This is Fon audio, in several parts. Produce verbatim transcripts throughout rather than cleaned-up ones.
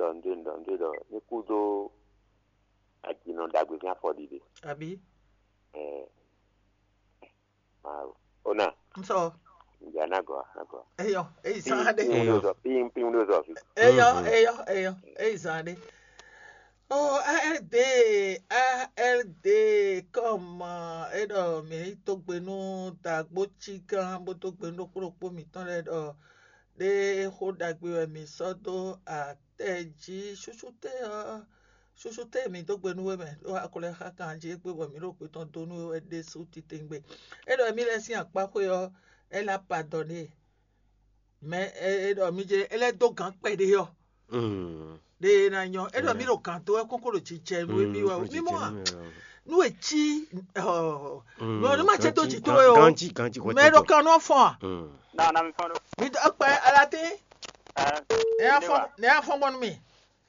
ɖɔ nǔɖé ɖɔ nǔɖé ɖɔ ní kú dó ajinɔ ɖagbe sín afɔɖiɖe. Abǐ? Ɛɛ, Mawu. Ona. N sɔ. Ǹjẹ́ anágɔ anágɔ. Eyɔ, eyi sán ɖe. Pín pín wúlò zɔ pín pín wúlò zɔ fi. Eyɔ, eyɔ, eyɔ, eyi sán ɖe. Oh, A R D, A R D, kɔma, e ɖɔ mǐ yi dó gbe nú dǎgbó cí gán bó dó gbe nú ɖokpó ɖokpó mǐtɔn lɛ́ɛ ɖɔ ɖé xó ɖagbe wɛ mǐ sɔ́ dó atɛ jí. Súsú tɛ́ ɔ́, súsú tɛ́ mǐ dó gbe nú we mɛ, ɖó a ko lɛ́ xá kan jí égbé bɔ mǐ ɖo gbě tɔn dó nú we wɛ ɖésú titewungbe. É ɖɔ émí lɛ́ɛ sín akpáxwé ɔ́, é ná padɔn n'i. Mɛ e ɖɔ mi jɛ é lɛ́ dó gǎn kpɛɖé ɔ́, ɖe e ná nyɔ́. É ɖɔ mí ɖo gǎn dó wɛ kókó ɖo jijɛ nú émí wɛ o. Mí mɔ a? Nú e cí nú ɔ́, ní ma cɛ dó jǐ towe o. Ganji ganji hwɛ Mɛ ɖo kan nú ɔ́ fɔ́n a? Na na mi fɔn ɖo. Mi dó kpɛ alatín. Ɛ Ne a fɔn ne a fɔn bɔnu mi.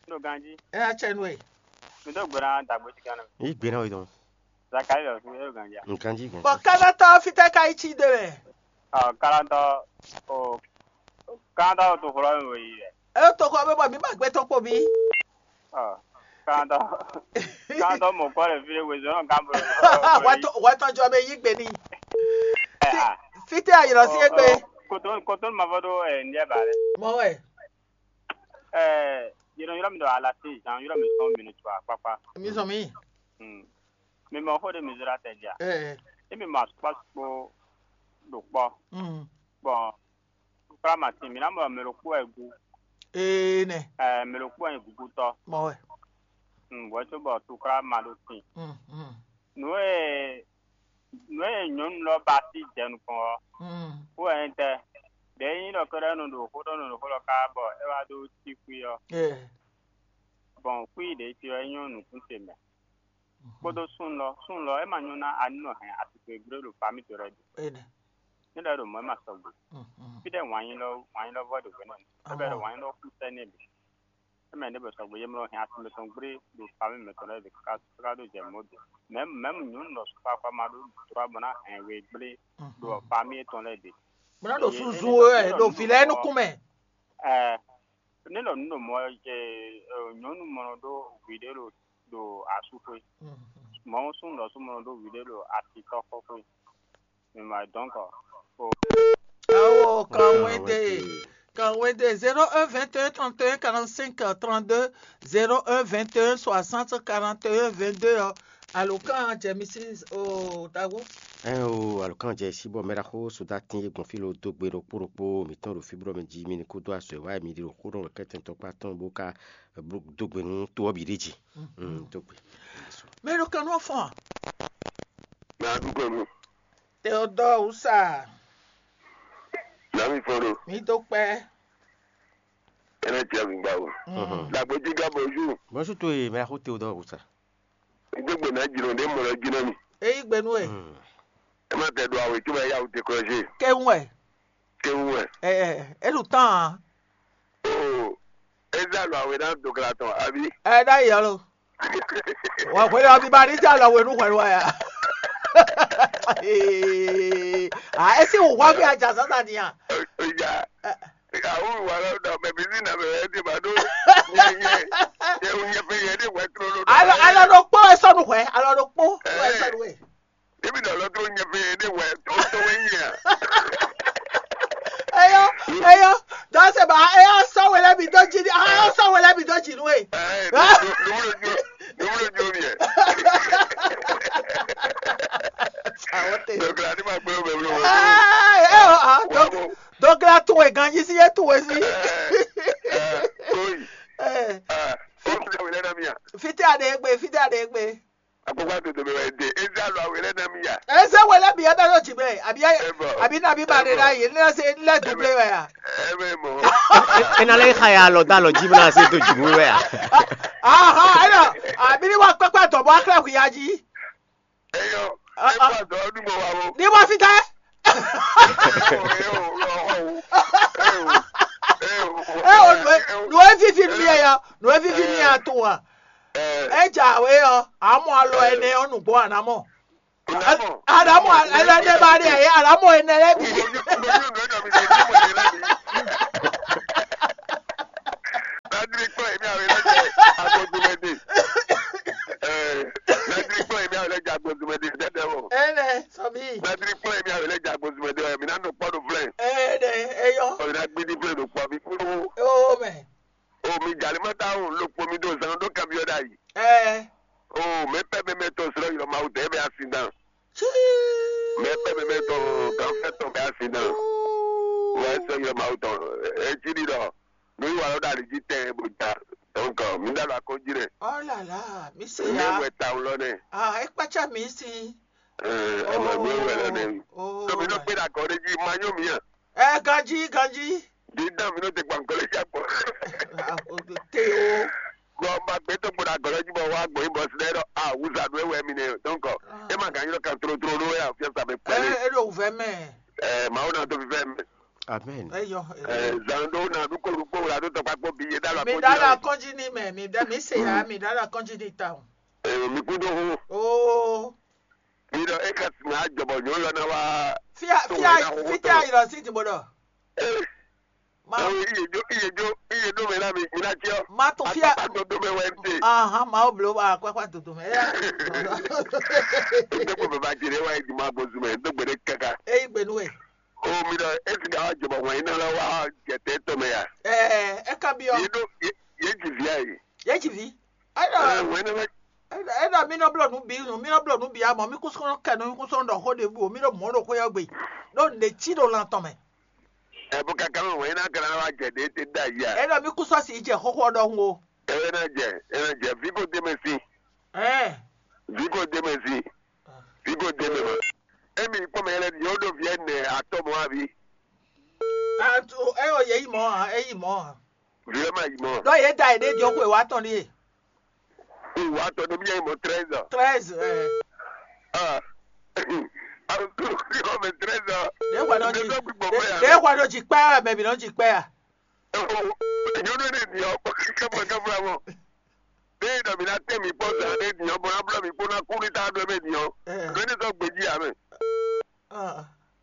Ɖo ganji. Ɛ a cɛ nú e. Mi dó gbɛɖa dagbo ti kan na. Yi gbé náà wí dɔn. Zakari lɔ fi ɖo ganji. Nkan jí gbɔn. Bɔn kánátɔ fítɛ́ ka yi cí de mɛ? Ɔ kánátɔ o kánátɔ o to xlɔ mi wòyi yɛ. E to xɔ bɛ bɔ mi ma gbé tɔn kpo mi. Ɔ kánátɔ kánátɔ mɔ kɔ le fi ɖe wezɔn nɔ gán bolo. Wɛtɔ wɛtɔ jɔ bɛ yi gbé ni. Fítɛ́ ayirɔ sí egbe. Koto koto ma fɔ ɖo ɛ ndiɛ ba lɛ. Mɔ wɛ. Ɛɛ yɛnɛ ylɔ́ mi ɖɔ alasi zan ylɔ́ mi sɔn mi nu tso akpakpa. Mi zɔn mi. Mi mɔ xó ɖé mi zra tɛ dia? Emi mɔ asukpasukpo ɖo kpɔ. Bɔn tukla ma tin mi ná mɔ mɛ ɖokpó wɛ gu. Ee nɛ. Ɛɛ mɛ ɖokpó wɛ nyí gugutɔ. Mɔ wɛ. Bɔn é cóbɔ tukla ma ɖo tin. Nǔ e nǔ e nyɔ̌nu lɔ ba sí jɛ nukɔn ɔ́, wú wɛ nyí tɛ́? Ɖě nyí ɖɔ kɛ́ɖɛ́ nɔ ɖo xó ɖɔ nɔ ɖo xó ɖɔ ká bɔ é wá ɖó cí xwí ɔ́, gbɔn xwí ɖě cí ɔ́ é nyɔ́ nukún ce mɛ. Kpódó súnnu lɔ, súnnu lɔ é ma nyɔ́ ná a ní nɔ hɛn asixwé gblé ɖo famí towe lɛ́ɛ ɖu. Ní lɛ́ ɖo mɔ̌ é ma sɔgbe. Fí ɖɛ́ wǎn nyí lɔ wǎn nyí lɔ vɔ ɖo hwě nɔ. É bɛ́ ɖɔ wǎn nyí lɔ kú sɛ́ n'i bǐ. É mɛ ɖěbǔ sɔgbe yě mlɔ hɛn asú mǐtɔn gblé ɖo famí mǐtɔn lɛ́ɛ bǐ káká ɖó jɛ mɔ̌ do. Mɛ̌m mɛ̌m nyɔ̌nu lɔ sukpakpa ma ɖó dlɔ́ bɔ ná hɛn we gblé ɖo famí yětɔn lɛ́ɛ bǐ. Bó ná ɖo suzu wɛ ɖo vǐ lɛ́ɛ nukún mɛ. Ɛɛ, ní lɔ nǔ ɖo mɔ nyɔ̌nu mɔ nɔ ɖó hwi ɖé ɖo ɖo asú xwé. Mɔ̌ súnnu lɔ sú mɔ nɔ ɖó hwi ɖé ɖo asitɔ́ xɔ xwé. Mi ma dɔn kɔ. Awo kanwéde kanwéde zéro un vingt et un trente et un quarante-cinq trente-deux, zéro un vingt et un soixante quarante et un vingt-deux ɔ́, alǒkan jɛ mi sí o tago. Ɛn o alǒkan jɛ sí bɔ mɛɖaxó sodatín e gbɔn fí lo dó gbe ɖokpó ɖokpó mǐtɔn ɖo fí blɔ́ mɛ jí mi ní kúdó azɔ̌ e wá mi ɖi ɖo xó ɖɔ kɛ́tɛn tɔkpá tɔn bó ká dó gbe nú tó ɔ́ bǐ ɖé jí. Dó gbe. Mɛ ɖo kan nú ɔ́ fɔ́n a? Mɛ a ɖu gbɔn nú. Teodoro Usa. Nami fɔn ɖo. Mi dó kpɛ. Ɛnɛ tia mi gba o. Dagbe jí gá bɔ ju. Bɔn su to ye mɛ xo Teodoro Usa. N dó gbe ná jìnnà ɖé mɔ lɔ jìnnà mi. Eyi gbe nú ɛ. Ɛ má tɛ ɖo awe tí wọ́n yá wò te kɔlɔsí. Kɛ ń wɛ. Kɛ ń wɛ. Ɛ ɛ ɛ ɖo tán a. Oo, Ezra lɔ awe ná dogla tɔn abi. Ɛ ɖá yi alo. Wà hwɛ lɔ bí ba ní tí a lɔ wenu hwɛ lɔ ya. A esi wò wá bí a jà sasa ni a. Ìjà àwọn ìwà lọ dà bẹ̀bí sí ìnàbẹ̀ rẹ̀ ti bá tó. Yẹ yẹ yẹ yẹ fẹ́ yẹ ní ìwà tó lọ. Alɔ alɔ ɖo kpó esɔ nu hwɛ alɔ ɖo kpó esɔ nu hwɛ. Ebi na lɔ tó nyɛ fɛ ne wɛ tó tó wɛ nyɛ. Eyɔ eyɔ dɔsɛ ba eyɔ sɔwɛ lɛ bi dɔ dzi ni eyɔ sɔwɛ lɛ bi dɔ dzi nu ye. Ɛɛ numu jo numu jo mi yɛ. Awo te. Dɔgla ni ma gbɛ bɛ wolo. Ɛɛ eyɔ ah dɔgla tun wɛ ganji si ye tun wɛ si. Ɛɛ ɛɛ oyi. Ɛɛ. Ɛɛ o ti dɛ wele na mi ya. Fiti a de egbe fiti a de egbe. Akpɔkpɔ adodo mɛ wɛ de eza lɔ awe lɛ na mi ya. Eze wɛ lɛ bi ebe ɖo dzi mɛ abi abi na bi ba ɖe ɖa yi ne se lɛ du ble wɛ ya. Ebe mɔ. Ena lɛ xa ya alɔ da alɔ dzi bena se do dzi mu wɛ ya. Aha ena abi ni wa kpɛkpɛ dɔ bɔ akla hu ya dzi. Eyɔ ebo adɔ ɔdu mɔ wa wo. Ni wa fi tɛ. Eo, nu e vivi mi ya, nu e vivi mi ya to wa. Eja we ɔ, amɔ alɔ ɛnɛ ɔ nugbo anamɔ. Anamɔ ɛnɛ ne ba de ye anamɔ ɛnɛ lɛ bi. Nadiri kpɔ́n èmi àwọn ẹlẹ́jẹ̀ agbózúmẹ́dé. Nadiri kpɔ́n èmi àwọn ẹlẹ́jẹ̀ agbózúmẹ́dé dẹ́dẹ́ wọ̀. Ẹnẹ sọmi. Nadiri kpɔ́n èmi àwọn ẹlẹ́jẹ̀ agbózúmẹ́dé ẹ̀ mi ná nɔ kpɔ́ ɖo flɛ́. Ẹnẹ eyɔ. Ọ̀ ná gbé ní flɛ́ ɖo kpɔ́ mi kúrú. Ó mɛ. O mi jali ma ta o lo kpɔ́ mi ɖo zan ɖó kabi ɔ́ ɖ'ayǐ. Ɛ. O mɛ pɛ mɛ mɛ tɔn srɔ́ yɔrɔ Mawu tɛ bɛ asi dan. Mɛ pɛ mɛ mɛ tɔn gan fɛ tɔn bɛ asi dan. Wɛ srɔ́ yɔrɔ Mawu tɔn. Etsi ɖi ɖɔ nu yi wa lɔ ɖo ali jí tɛn bo ja. Donc mi ɖo alɔ akɔnji nɛ. Ɔlala mi se mi ya. Wɛ ta wlɔ nɛ. Ah, ekpatsa mi si. Ɛ ɛ mɛ mi wɛ lɛ nɛ. Oh. Tɔmi nɔ kpe ɖe agɔ ɖe jí ma nyɔ mi a. Ɛ ganji ganji. Dídá mi nɔ te gbankɔlɛ jí akpɔ. Te o. Gbɔ ma gbé tó gbɔdɔ agɔlɔ jí bɔ wá gbɔ yín bɔ sí ɖɔ a wúzà nú ewɛ mi nɛ donc e ma gán ylɔ kan tlótló ɖó wɛ afiɛsa mɛ kpɛlɛ. Ɛ e ɖo wúvɛ mɛ. Ɛ mawu na tó fífɛ mɛ. Amen. Eyɔ. Ɛ zan ɖó na ɖúkɔ ɖúkɔ wla tó tɔkpa kpó bi yé dá la. Mi kɔnjí dá la ní. Kɔnjí ní mɛ mi dá mi se ya mi dá la kɔnjí ní ta o. Ɛ mi kú dó hó. Oo. Mi ɖɔ é ka sina jɔbɔ nyɔ̌nu lɔ ná wá. Fia fia fia yi lɔ sí ti bó ɖɔ. Ɛ Ma ɛ iye jó iye jó iye dó mɛ ná mi mi ná tiɔ. Ma to fia. Akpakpa tó dó mɛ wɛ ń tè. Ahan ma o blo ba akpakpa dodo mɛ. Dókòwò bàbá jèrè wá ìdìmọ̀ àbòsùnmẹ̀ dógbèrè kàkà. Eyi gbenu ɛ. O mi ɖɔ esi ka wá jɔbɔ wɛn iná lɔ wá jɛtɛ tɔmɛ ya. Ɛɛ ɛ ka biɔ. Yé ɖó yé yé dzi via yi. Yé dzi vi. Ɛ Ayiwa. Wɛn iná lɔ. Ena mi nɔ blɔ nǔ bǐ nǔ mi nɔ blɔ nǔ bǐ amɔ mi kún sɔ́ kɛ nɔ mi kún sɔ́ ɖɔ xó ɖěbǔ o mi ɖo mɔ̌ ɖo xwé ɔ́ gbe ɖó nǔɖé cí ɖo lan tɔn mɛ. Ɛ bó káká mɛ wɛn iná kana wá jɛ ɖě tɛ ɖ'ayǐ a. Ena mi kún sɔ́ si jɛ xóxó ɔ́ ɖɔhun o. Ɛ ná jɛ ɛ ná jɛ vǐ ko dé mɛ sí. Ɛɛ Vǐ ko dé mɛ sí. Vǐ ko dé mɛ ma. Emi kpɔ́n mɛ lɛ yɔ ɖo vǐ ɛnɛ atɔ́ mɔ abi. Atu ɛ o yɛ yi mɔ ha ɛ yi mɔ ha. Vǐ ɛ ma yi mɔ. Ɖɔ yě da yě ɖe jɔ xwe wa tɔn ɖie. Xwe wa tɔn ɖe mi yɛ yi mɔ treize ans. Treize ɛ. Ah. Awo kúrò kúrò mɛ treize ans. Ɖe hwa nɔ ji Ɖe dɔ gbígbɔ mɛ ya. Ɖe hwa nɔ ji kpɛ ya mɛ bi nɔ ji kpɛ ya. Nyɔnu ɖe ni ɔ kɛfla kɛfla mɔ. Ɖe dɔ mi na tɛ mi kpɔ sa ɖe ni ɔ bɔ na blɔ mi kpɔ na kú ní ta ɖɔ mɛ ni ɔ. Ɖe ni sɔ gbedzi ya mɛ.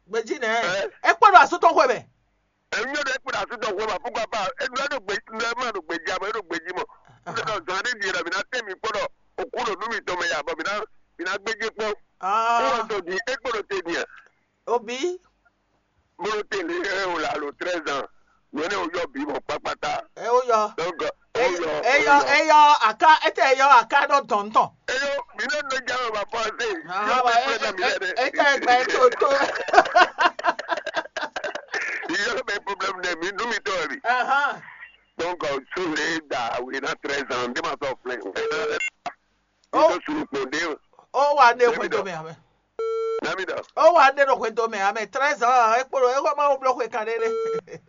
Gbedzi nɛ. Ɛ? E kpɔ ɖo asutɔ xwe mɛ. Enyɔ ɖe kpɔ ɖo asutɔ xwe ma fúkɔ apa eɖu ɖo gbe ɖu ma ɖo gbedzi ya mɔ eɖo gbedzi mɔ. Ɖe dɔ zan ɖe ni ɖɔ mi na tɛ mi kpɔ ɖɔ okú ɖo nú mi tɔn mɛ ya bɔ mi na mi na gbedzi kpɔ. Kú wɔ tɔ di e kpɔ ɖo te ni a. Obi. Bolo tele ɛ o la lo treize ans. Nyɔnɛ o yɔ bi mɔ kpakpata. Ɛ o yɔ. Donc o yɔ o Eyɔ yɔ. Eyɔ aka ete eyɔ aka ɖɔ dɔn tɔn. Eyo mi ne do jalo ma pense. Aha Yɔ wa mi e problème e yɛ dɛ. Ete gba e to to. Yɔ mi problème dɛ mi nu mi tɔ bi. Aha. Donc su le da we na treize ans de ma sɔ flɛ. Oh. Ito suru kpo de. O wa ne David. Xwe do mɛ amɛ. David. O wa ne ɖo xwe do mɛ amɛ treize ans e kpo ɖo e xɔ ma wo blɔ xwe kan ɖe ɖe.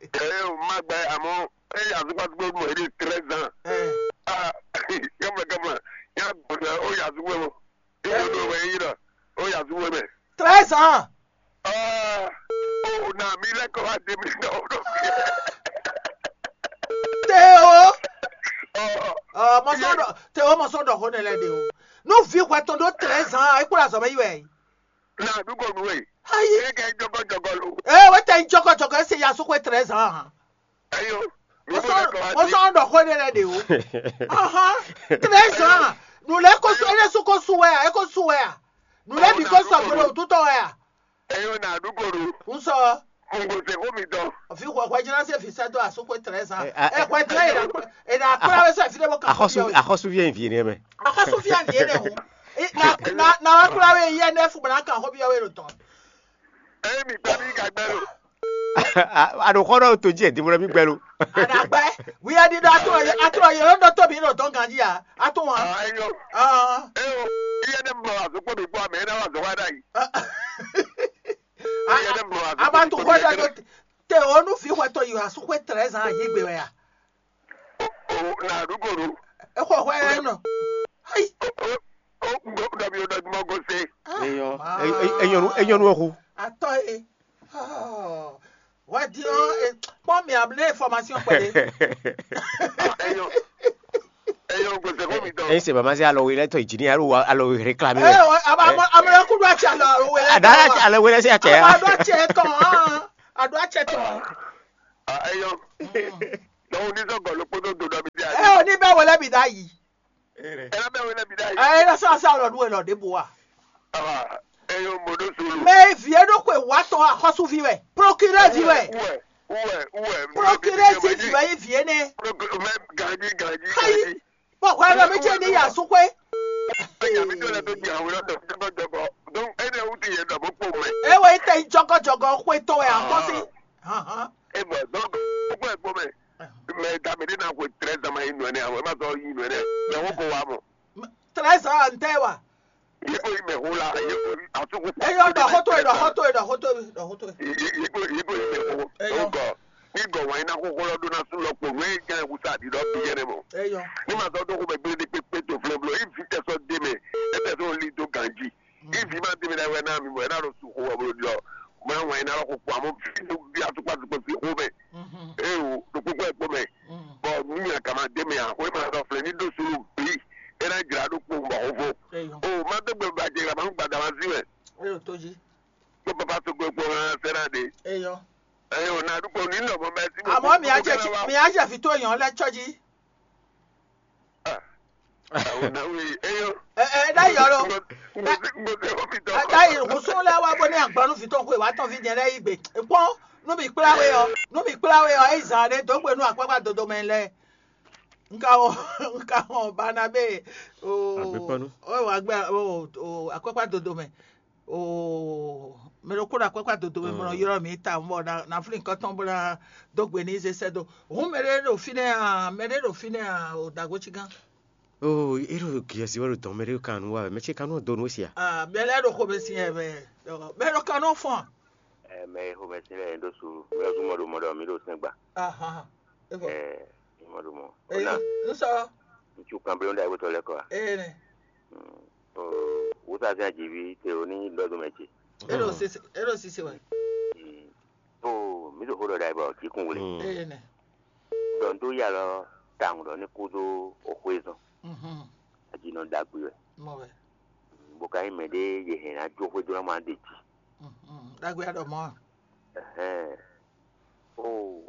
Ɛ o ma gbɛ amɔ e azukpazukpo mɔ e ɖe treize ans. Ɛ. Ah, kama kama ya gbɔdɔ o ya azukpo mɔ. Iye do wɛ yi dɔ o ya azukpo mɛ. Treize ans. Ah, o na mi lɛ kɔ wa de mi dɔ o dɔ. Te o. Ɔ Ɔ mɔ sɔ dɔ te o mɔ sɔ dɔ xo ne lɛ de o. Nu vi hwɛ tɔn ɖo treize ans e kpla zɔ mɛ yi wɛ. Na du ko nu e. Ayi. E kɛ jɔgɔ jɔgɔ lo. Ee wɛ tɛ jɔgɔ jɔgɔ ese ya so ko treize ans. Ayo. Mi Mo mo sɔ lɛ kɔ wa mo di. Sɔ dɔ xo ne lɛ de o. Ahan. Treize ans. Nu lɛ ko su ele su ko su wɛ a e ko su wɛ a. Nu lɛ bi ko sɔ gbolo tutɔ wɛ a. Eyo na du ko nu. N sɔ. N ko se ko mi dɔn. Fi hwɛ hwɛ jina se fi sɛ do a so ko treize ans. Ɛ hwɛ jina e na e na kura wɛ sɛ fi de mo kan. Axɔsu axɔsu vie vi ne mɛ. Axɔsu fia ni ene ho. Na na na wa kura we yɛ ne fu bana kan ho bi we lo tɔn. Emi gba mi ka gbɛ lo. Aɖo xɔ ɖɔ to dzi ɛ dimlɔ mi gbɛ lo. Adagbɛ wi adi do ato ato yɛ lo dɔ to mi lo tɔn ganji ya ato wa. Ah eyo. Ah. Eyo. Iye ne mɔ azokpo mi gbɔ amɛ ne wa zɔ wa da yi. Iye ne mɔ azokpo mi gbɔ amɛ. Aba to xɔ ɖe do te o nu fi xɔ to yi asu xɔ treize ans yi gbe wɛ ya. O na ɖu ko ɖu. Exɔ hwɛ yɛ nɔ. Ayi. O o o ŋgɔ ɖɔ mi o ɖɔ dumɔ gose. Eyɔn eyɔn eyɔn hu. Atɔ ye. Wadi o kpɔn mi able formation kpɛde. Eyɔn eyɔn gose ko mi dɔn. Ese baba se alɔ wele tɔ jini alo wa alɔ réclamer. Ɛ aba amɔ amɔ kudu ati alɔ wele. Ada alɔ wele se atɛ. Aba do ati tɔn. Ado ati tɔn. Eyɔn. Donc, disons que le poteau de David ɖ'ayǐ. Ɛ ná bɛ wɛn nɛ bi ɖ'ayǐ. Ɛ ná sá sá lɔ nú ɛ lɔ ɖěbǔ a? Aba, ɛ yɔ mɔ ɖó solo. Mɛ vi e ɖo xwe wa tɔn axɔ́súvi wɛ, prokirɛdi wɛ. Uwɛ, uwɛ, uwɛ. Prokirɛdi vi wɛ yi vi e nɛ. Mɛ ganji, ganji, Ayi, ganji. Bɔ hwɛ lɔ mi ce ni ya sukwe. Anya mi tó lɛ tó di àwọn ọ̀dọ́ tó jọgọ. Donc, ẹ ní ẹwú ti yẹn dọ̀ bó pò mẹ́. Ewe tɛ jɔgɔjɔgɔ xwe tɔn wɛ akɔsi. Ahan. E bɔ donc, ó gbọ́ ẹ̀gbọ́n mẹ́. Mɛ dame ɖé ná xwe trɛ́ zama yi nɔ ɛnɛ àwọn ɛ má sɔ yi nɔ ɛnɛ. Mɛ wọ́n kó wa mọ̀. Trɛ́ zama ntɛ wa. Yeko yi mɛ xó la, yeko yi asúkú. Eyɔ ɖɔ xótó yi ɖɔ xótó yi ɖɔ xótó yi ɖɔ xótó yi. Yeko yeko yi mɛ xó. Eyɔ. Nkɔ ní gɔ wɛn iná xóxó lɔ ɖó ná sú lɔ kpo nú ɛ jẹ́ wúsá àdìdɔ bí yẹn mɔ. Eyɔ. Ní ma sɔ dó xó mɛ gbé ní pépé tó flɛ́ bló, yí vi tɛ sɔ dé mɛ, é tɛ sɔ lí dó ganjí. Yí vi ma dé mɛ ɖa wɛ ná mi mɔ, é ná ɖo sú xó wɛ bló ɖiɔ. Mɛ wɛn iná lɔ xó kpo àmọ́ vi nú bí asúkpá tó fi xó mɛ. Eo ɖo kpókpó ɛ kpó mɛ. Bɔ nú mi àkàmà dé mɛ à, xó é ma sɔ flɛ́ ní ɖó sú bí, é ná jlá ɖó kpo bɔ xó fó. Eyɔ. O ma dó gbɛ bàjẹ́ ìgbà máa ń gbàdá wá sí mɛ. Eyɔ tó jí. Kó bàbá tó gbé kpó hàn sẹ́nà dé. Eyɔ. Eyɔ na dúpọ̀ ní lọ́mọ bẹ́ẹ̀ sí. Àmọ́ mi á jẹ́ mi á jẹ́ fi tó èèyàn lẹ́tọ́ jí. Àwọn náà wí eyọ. Ẹ ẹ dá yọ lọ. Dá yìí kò sún lẹ́ wá bó ní àgbọ̀nú fi tó ń kó ìwà tán fi jẹ lẹ́yìn gbé. Pọ́n nú mi kpláwé ọ, nú mi kpláwé ọ, ẹ zà rẹ dó gbé nú àpápá dodo mẹ lẹ. Nka ɔ nka ɔ Barnabé o. Agbekpɔnu. O wa gbɛ o o akɔkpa dodo mɛ o mɛ ɖo kó ɖo akɔkpa dodo mɛ mɔ ylɔ mi ta mɔ na na flin kɔtɔn bó na dó gbe ní zé sɛ do. Hǔn mɛ ɖé ɖo fínɛ́ a mɛ ɖé ɖo fínɛ́ a o dagbo cí gán. O e ɖo giɛsi wɛ ɖo dɔn mɛ ɖé kan nu wa wɛ mɛ ce kan nu donu si a. Ah mɛ lɛ ɖo xo mɛ si yɛ mɛ mɛ ɖo kan nɔ fɔn. Ɛ mɛ xo mɛ si lɛ ɖo su mɛ ɖo mɔ ɖo mɔ ɖɔ mi ɖo sɛn gba. Ahan. Evɔ. Ɛ mɔ ɖo mɔ. Eye Ona. Nsɔ. Ŋutsu kan blo ɖe ayibotɔ lɛ kɔ a. Eye nɛ. Wosazɛn ajivi te o ní lɔdún mɛ ce. Eɖo sise eɖo sise wɛ. O mi ɖo xó ɖɔ ɖa yibɔ jikun wuli. Eye nɛ. Dɔn tó ya lɔ tawun ɖɔ ní kú dó oxwé zɔn. Mhm. Ajinɔ ɖagbe wɛ. Mɔ wɛ. Bó ka nyí mɛ ɖé yě hɛn ná jó xwé dó ná ma ɖe jí. Mhm. Ɖagbe aɖɔ mɔ. Ɛhɛn. O.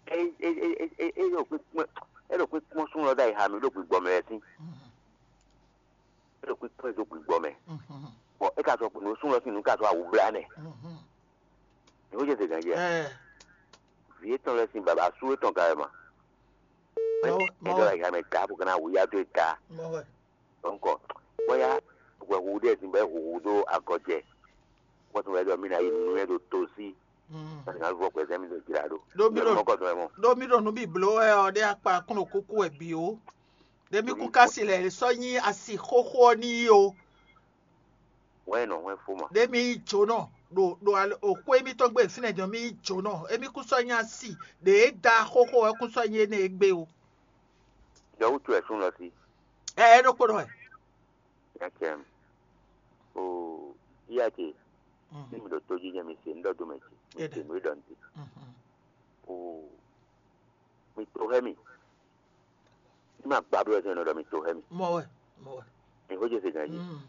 E e e e e e ɖo kpíkpɔ́n e ɖo kpíkpɔ́n sún lɔ ɖ'ayǐ ha mi ɖo gbigbɔ mɛ wɛ sín. Mhm. E ɖo kpíkpɔ́n e ɖo gbigbɔ mɛ. Mhm. Bɔ e ka sɔ nǔ sún lɔ sín nǔ ka sɔ awu blá nɛ. Mhm. Ní wọ́n jẹ́ sègàn jẹ́. Ɛ Vǐ étɔn lɛ́ɛ sín baba sú étɔn ka wɛ ma. Mɔ wɛ, mɔ Ɛjọ́ wɛ, la yǎ mɛ ta bó ka ná wǔyá dó e ta. Mɔ wɛ. Donc, bóyá hwɛhwu ɖé sin bɔ é hu hu dó agɔjɛ. Kpɔ́tun wɛ ɖɔ mí ná yi nǔnywɛ́ ɖo to sí. Mm. Ná vɔ gbɛzɛ́ mì ɖo jlǎ ɖó. Ɖó mí ɖo mɔkɔ tɔn wɛ mɔ. Ɖó mí ɖo nǔ bǐ bló wɛ ɔ́ ɖé akpa kún ɖo kúkú wɛ bǐ ó. Ɖé mí kún ká si lɛ sɔ́ nyí asi xóxó ɔ́ n'i ó. Wɛ nɔ wɛ fó ma. Ɖé mí yí jǒnɔ ɖo ɖo al- o xwé mítɔn gbe fínɛ́ jɔn mí yí jǒnɔ. Émí kún sɔ́ nyí asi ɖě é da xóxó wɛ kún sɔ́ nyí énɛ́ é gbé ó. Jɔ wútu ɛ sún lɔ sí. Ɛ é ɖokpó ɖɔ wɛ. Nyakɛm. O iya ce. Mm. Ní mi ɖo tójí jɛ mi se ŋɖɔ dó mɛ ce. Mi Eɖe. Se nǔ e ɖɔ n te. Mhm. O mi to hɛ mi. Ní ma gbá bló wɛ sɛn nɔ ɖɔ mi to hɛ mi. Mɔ wɛ, mɔ wɛ. Mi xó jɛ se ganjí. Mm.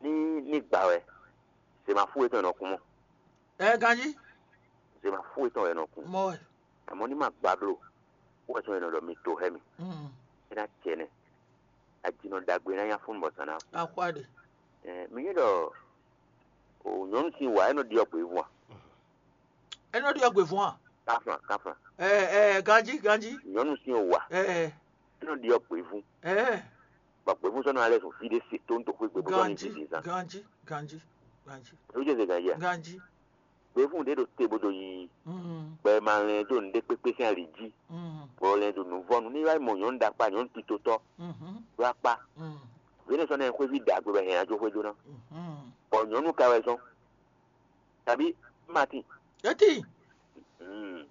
Ní ní gbá wɛ, se ma fú wɛ tɔn nɔ kún mɔ. Ɛ ganjí. Se ma fú wɛ tɔn wɛ nɔ kún. Mɔ wɛ. Àmọ́ ní ma gbá bló, wɛ tɔn nɔ ɖɔ mi to hɛ mi. Mm. É ná cɛ nɛ. Ajinɔ ɖagbe ná nya fún bɔ sàn ná. Axwá ɖe. Ɛ mi nyɛ ɖɔ o nyɔnu sin wa ɛ nɔ ɖiɔ gběvun a. Ɛ nɔ ɖiɔ gběvun a. Kaflan kaflan. Ɛ ɛ ganjí ganjí. Nyɔnu sin wa. Ɛ ɛ. Ɛ nɔ ɖiɔ gběvun. Ɛ. Bɔ gběvun sɔnɔ alɛ sùn fi ɖé se tó ń to xwé gbé bó sɔnni fi sin sa. Ganjí ganjí ganjí. Ló jẹ́ sè ganjí a. Ganjí. Gběvun ɖé ɖo te bó ɖo yiyi. Mm. Gbɛ ma lɛn dó nǔɖé kpékpé sín ali jí. Mm. Bɔ lɛn ɖo nǔvɔ́nu ní wá mɔ nyɔ̌nu ɖakpá nyɔ̌nu titotɔ́. Mhm. Ɖó akpá. Mm. Vě nɛ sɔ́ nɛ xwéví ɖagbe bɔ hɛn ajo xwé dó ná. Mhm. Bɔ nyɔ̌nu ka wɛ zɔ́n. Tàbí Martin. Eti. Mm.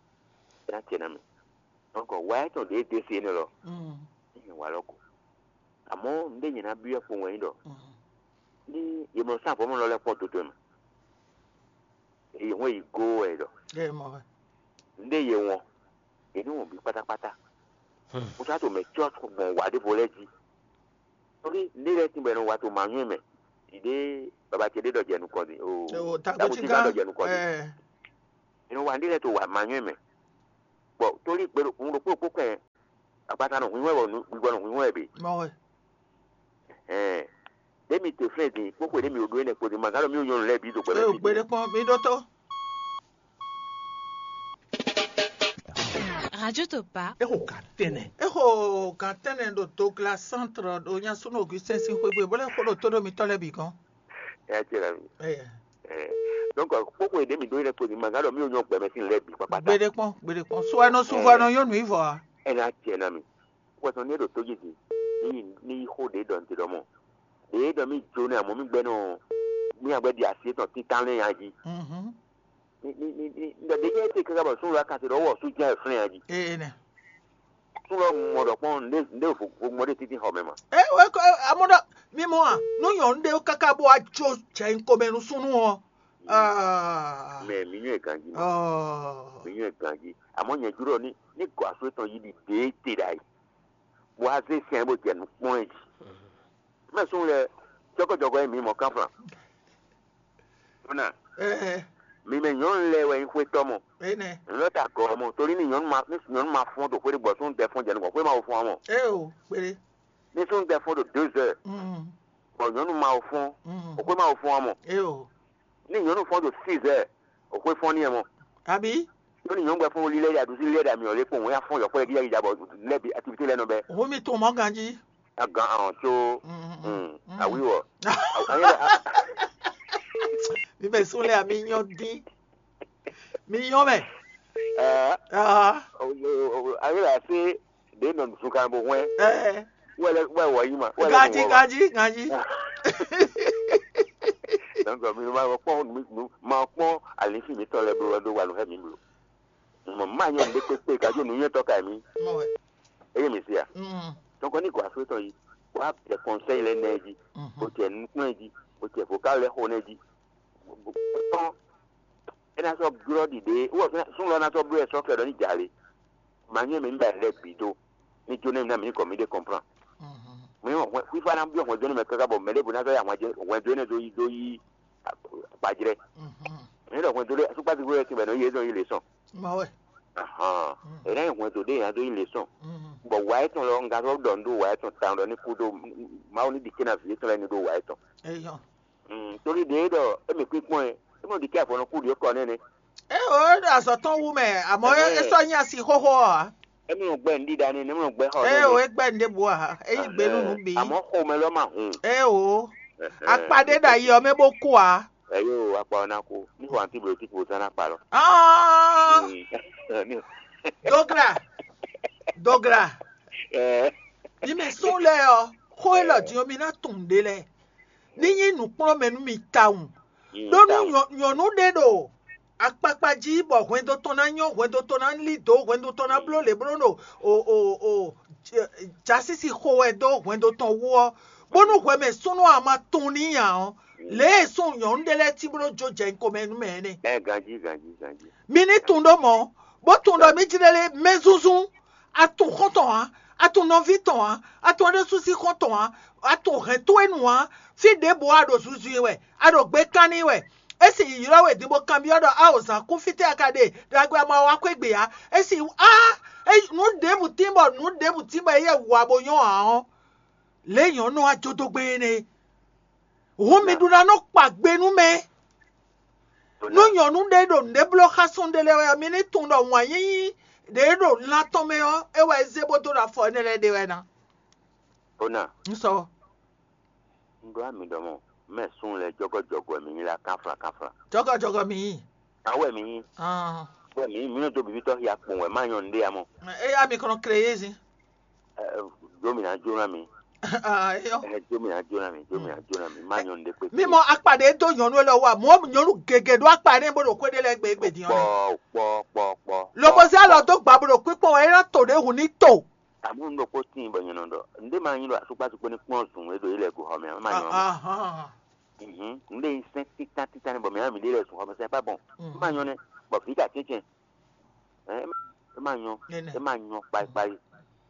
Ena tiɛ na mɛ. Donc wa etɔn ɖe de se ne lɔ. Mm. Ene wa lɔ ko. Àmọ́ nde nyɛ na biɔ kpo wɛn ɖɔ. Mm. Ni ye mɔ sa vɔmɔ lɔ lɛ kpɔ toto ma. Ye hɔn yi go wɛ ɖɔ. Ye mɔ wɛ. Nde ye wɔn. Ye ni wɔn bi kpatakpata. Hmm. Mo sa to mɛ tsɔ gbɔn wa ɖe vo lɛ ji. Torí nde lɛ tin bɛ no wa to ma nyɔ mɛ. Ide baba ce ɖe ɖɔ jɛ nukɔn di. O, o, ta ko ti kan ɖɔ jɛ nukɔn di. Eh. Ino wa nde lɛ to wa ma nyɔ mɛ. Bɔ torí gbɛɖo kun ɖokpó ɖokpó kɛ Akpata nɔ hwinhɔn wɛ, nǔ gbígbɔ nɔ hwinhɔn wɛ bě. Mɔ wɛ. Ɛɛ, ɖé mi te flɛ́n din kpókpo ɖé mi ɖó énɛ́ kpo din ma gán ɖɔ mí nyɔnu lɛ́ɛ bǐ do gbɛ. Ée o gbéɖé kpɔ́n mi ɖótó. Radio Topa. Exo gǎn tɛnɛ. Exo gǎn tɛnɛ ɖo Douglas Centre ɖo nyasúnú Augustin sín xwé gbe bó lɛ́ xó ɖo tó ɖo mitɔ́ lɛ́ɛ bǐ gɔ́n. Ɛ jɛ la mi. Ɛɛ. Ɛ. Donc kpókpo ɖé mi ɖó énɛ́ kpo din ma gán ɖɔ mí nyɔnu gbɛmɛ sín lɛ́ɛ bǐ kpakpata. Gbéɖé kpɔ́n, gbéɖé kpɔ́n. So ɛnɔ sunvɔ ɛnɔ nyɔnu yí vɔ a? Ɛ ná jɛ na mi. Wɛsɔn ní e ɖo tó jí din ní ní yí xó ɖě ɖɔ nte ɖɔ mɔ ɖě ɖɔ mí jó nɛ amɔ̌ mí gbɛ́ nɔ mí agbɛ́ ɖi asi étɔn títán lɛ́ɛ nya jí. Ní ní ní ní ɖɔ ɖě jẹ́ éte káká bɔ súnnu lɔ akasi ɖɔ wɔ sú jẹ́ flɛ́n nya jí. Ee nɛ. Súnnu lɔ mɔ ɖɔ kpɔ́n ndé ndé vo vo mɔ ɖé títí xɔ mɛ ma. E o ko amɔ ɖɔ mi mɔ a nu nyɔnu ɖe káká bó wá jó jɛ nkomɛ nú súnnu ɔ. Mɛ mí nyɔ́ ɛ ganjí ma. Mí nyɔ́ ɛ ganjí. Àmọ́ nyɛ júlɔ ní ní gɔ̌ asú étɔn yí ɖi ɖě te ɖ'ayǐ. Bó wá zé sɛn bó jɛ nǔ kplɔ́n ɛ jí. Mɛ sún lɛ jɔgɔjɔgɔ e mǐ mɔ kánflán. Bóná, mi mɛ nyɔ̌nu lɛ́ɛ wɛ nyí xwétɔ́ mɔ. Enɛ. Nyɔ̌nu ta gɔ́ mɔ, torí ní nyɔ̌nu ma ní nyɔ̌nu ma fɔ́n ɖo xwé ɖé gbɔ súnnu ɖɛ fɔ́n jɛ nukɔn, xwé ma wo fɔ́n ɔ́ mɔ. Eo kpéɖé. Ní súnnu ɖɛ fɔ́n ɖo deux heures, bɔ nyɔ̌nu ma wo fɔ́n, o xwé ma wo fɔ́n ɔ́ mɔ. Eo. Ní nyɔ̌nu fɔ́n ɖo six heures, o xwé fɔ́n n'i ɛ mɔ. Àbí? Yóò ní nyɔ̌nu gbɛ fún lílɛ́ ɖa ɖusí lílɛ́ ɖa mì ɔ́ lé kpɔ́n wɛn afɔ́n yɔ̌kpɔ́ lɛ́ gíga gíga bɔ lɛ́ bi activité lɛ́ɛ nɔ bɛ́. Òun mi tún mọ́ ganjí. Agan ahɔn tso awíwɔ. Mi bɛ sún lé àmì yán dín. Mi yán mɛ. Ayé la ṣe ɖě nɔ zunkan bó hwɛn. Wɛlɛ wɛ wɔ yi ma. Ganjí ganjí ganjí. Donc mi ma kpɔn mi ma kpɔn alisi mi tɔ lɛ blo do wa nu hɛ mi blo. Mɔ ma nyɔ ɖe kpekpe gajo nu nyɛ tɔ ka mi. Eye mi sia. Donc ni gɔ aso tɔ yi. Wa bɛ conseil lɛ nɛ ji. O tɛ nukun ji. O tɛ vocal lɛ xo nɛ ji. Tɔn. Ena sɔ glɔ ɖiɖe. Wɔ sun lɔ na sɔ blo ɛ sɔ kɛ dɔ ni jale. Ma nyɔ mi ba lɛ bi do. Ni jo ne mi na mi ni kɔ mi de comprend. Mi wɔ hwɛ fifa na biɔ hwɛ jɔni mɛ kaka bɔ mɛ de bo na sɔ ya hwɛ jɔni do yi do yi. Gbajrɛ. Ne ɖɔ hwɛndo ɖé sukpasi gbé wɛ tɛnbɛ nɔ yi ezɔn yi le sɔn. Mawe. Ahan. Ena yi hwɛndo ɖé yàn do yi le sɔn. Bɔ wa etɔn lɔ nga sɔ ɖɔ nu ɖo wa etɔn tan ɖɔ ní kú ɖo mawu ní ɖike na vi etɔn lɛ ní ɖo wa etɔn. Eyɔ. Torí ɖe ɖɔ emi kpíkpɔn ɛ emi ɖike afɔ nɔ kú ɖi kɔ nɛnɛ. E o e ɖo azɔ tɔn wu mɛ, àmọ́ e sɔ nyi asi xóxó ɔ. Emi nɔ gbɛ ŋɖi ɖa nɛ, emi nɔ gbɛ xɔ nɛ. E o e gbɛ ŋɖe bo a, e yi gbe nunu bi. Àmọ́ xomɛ lɔ ma hun. E o. Akpa ɖé ɖo ayi ɔ́ mɛ bó kú ǎ. Ɛyó akpa ɔ́ ná kú. Ní xɔ antibiotique bó zán ná kpa lɔ. Dogla, dogla. Ní mɛ sún lɛ ɔ, xó élɔ́ din ɔ́ mi ná tunwun ɖé lɛ. Ní nyí nǔkplɔ́nmɛ nú mi tawun. Ɖó nú nyɔ̌nu ɖé ɖo akpakpa jí bɔ hwɛndo tɔn ná nyɔ́, hwɛndo tɔn ná lí dǒ, hwɛndo tɔn ná bló lě bló ɖo o o o jasísi xo wɛ dó hwɛndo tɔn wú ɔ́, bónú hwɛ mɛ súnnu ɔ́ ma tunwun n'i ǎ ɔ́, lě e súnnu nyɔ̌nu ɖé lɛ́ɛ cí bó nɔ́ jó jɛ nyi komɛ nú mɛ ɔ́ nɛ́. Ɛ ganjí ganjí ganjí. Mi ní tunwun ɖó mɔ̌, bó tunwun ɖɔ mí jlɛ́ lé mɛ zúnzún, a tunwun xɔ́n tɔn ǎ, a tunwun nɔví tɔn ǎ, a tunwun ɖésú sín xɔ́n tɔn ǎ, a tunwun hɛ̌n towe nu ǎ, fí ɖěbǔ a ɖo zunzun i wɛ, a ɖo gbe kán n'i wɛ. É sì ylɔ́ we din bó kanbyɔ́ ɖɔ: "Ao zǎn kú fítɛ́ a ka ɖe? Ɖagbe a ma wá xwé gbe ǎ." É sì á é nǔ ɖěbǔ tín bɔ nǔ ɖěbǔ tín bɔ éyɛ́ wǎ bó nyɔ́ ǎ ɔ́, lě nyɔ̌nu ɔ́ wá jó dó gbɛn énɛ́ é. Hǔn mi ɖó ná nɔ kpa gbe nú mɛ. Nú nyɔ̌nu ɖé ɖo nǔɖé bló xá súnnu ɖé lɛ́ɛ wɛ ɔ́, mi ní tunwun ɖɔ wǎn yíyí ɖě ɖo lan tɔn mɛ ɔ́, é wɛ é zé bó dó ɖo afɔ énɛ́ lɛ́ɛ ɖe wɛ ná. Ona, Un sɔ. Un ɖó ami ɖɔ mɔ, mɛ sun lɛ jɔgɔjɔgɔ mi nyí la kanflan kanflan. Jɔgɔjɔgɔ mi yí. Awɛ mi nyí. Ah. Wɛ mi nyí mi nɔ dó bibitɔ xia kpɔn wɛ má nyɔ nɖé amɔ. Eya mi kɔnɔ kle yé zin. Ɛ, Jó mi ná jó ná mi. Ah, eyɔ. Ɛ, jó mi ná jó ná mi. Jó mi ná jó ná mi. Má nyɔ nɖé kpé. Mi mɔ akpa ɖe dó nyɔnu lɛ wa. Mɔ nyɔnu gègé ɖó akpa ɖe bó ɖo xwé ɖe lɛ gbé gbé din ɔnɛ. Kpɔ kpɔ kpɔ kpɔ. Lobo zé alɔ dó gba bó ɖo kpíkpɔn wɛ é ná to ɖě hùn ní to. Àmọ́ ń ɖokpó tíin bɔ nyɛ nɔ ɖɔ ǹdé máa nyí ɖɔ asúkpásúkpó ní kplɔ́n zùn e ɖo yí lɛ go xɔ mɛ ɔ́, é má nyɔ. Ahán. Mhm. Ǹdé nyí sɛ́n títán títán ní bɔ mɛ ɔ́ mi ɖé lɛ zùn xɔ mɛ sɛ́n pá bɔn. É má nyɔ nɛ́ bɔ vǐ ɖo atínkɛn. Ɛ, é má nyɔ. Énɛ́. É má nyɔ kpayikpayi.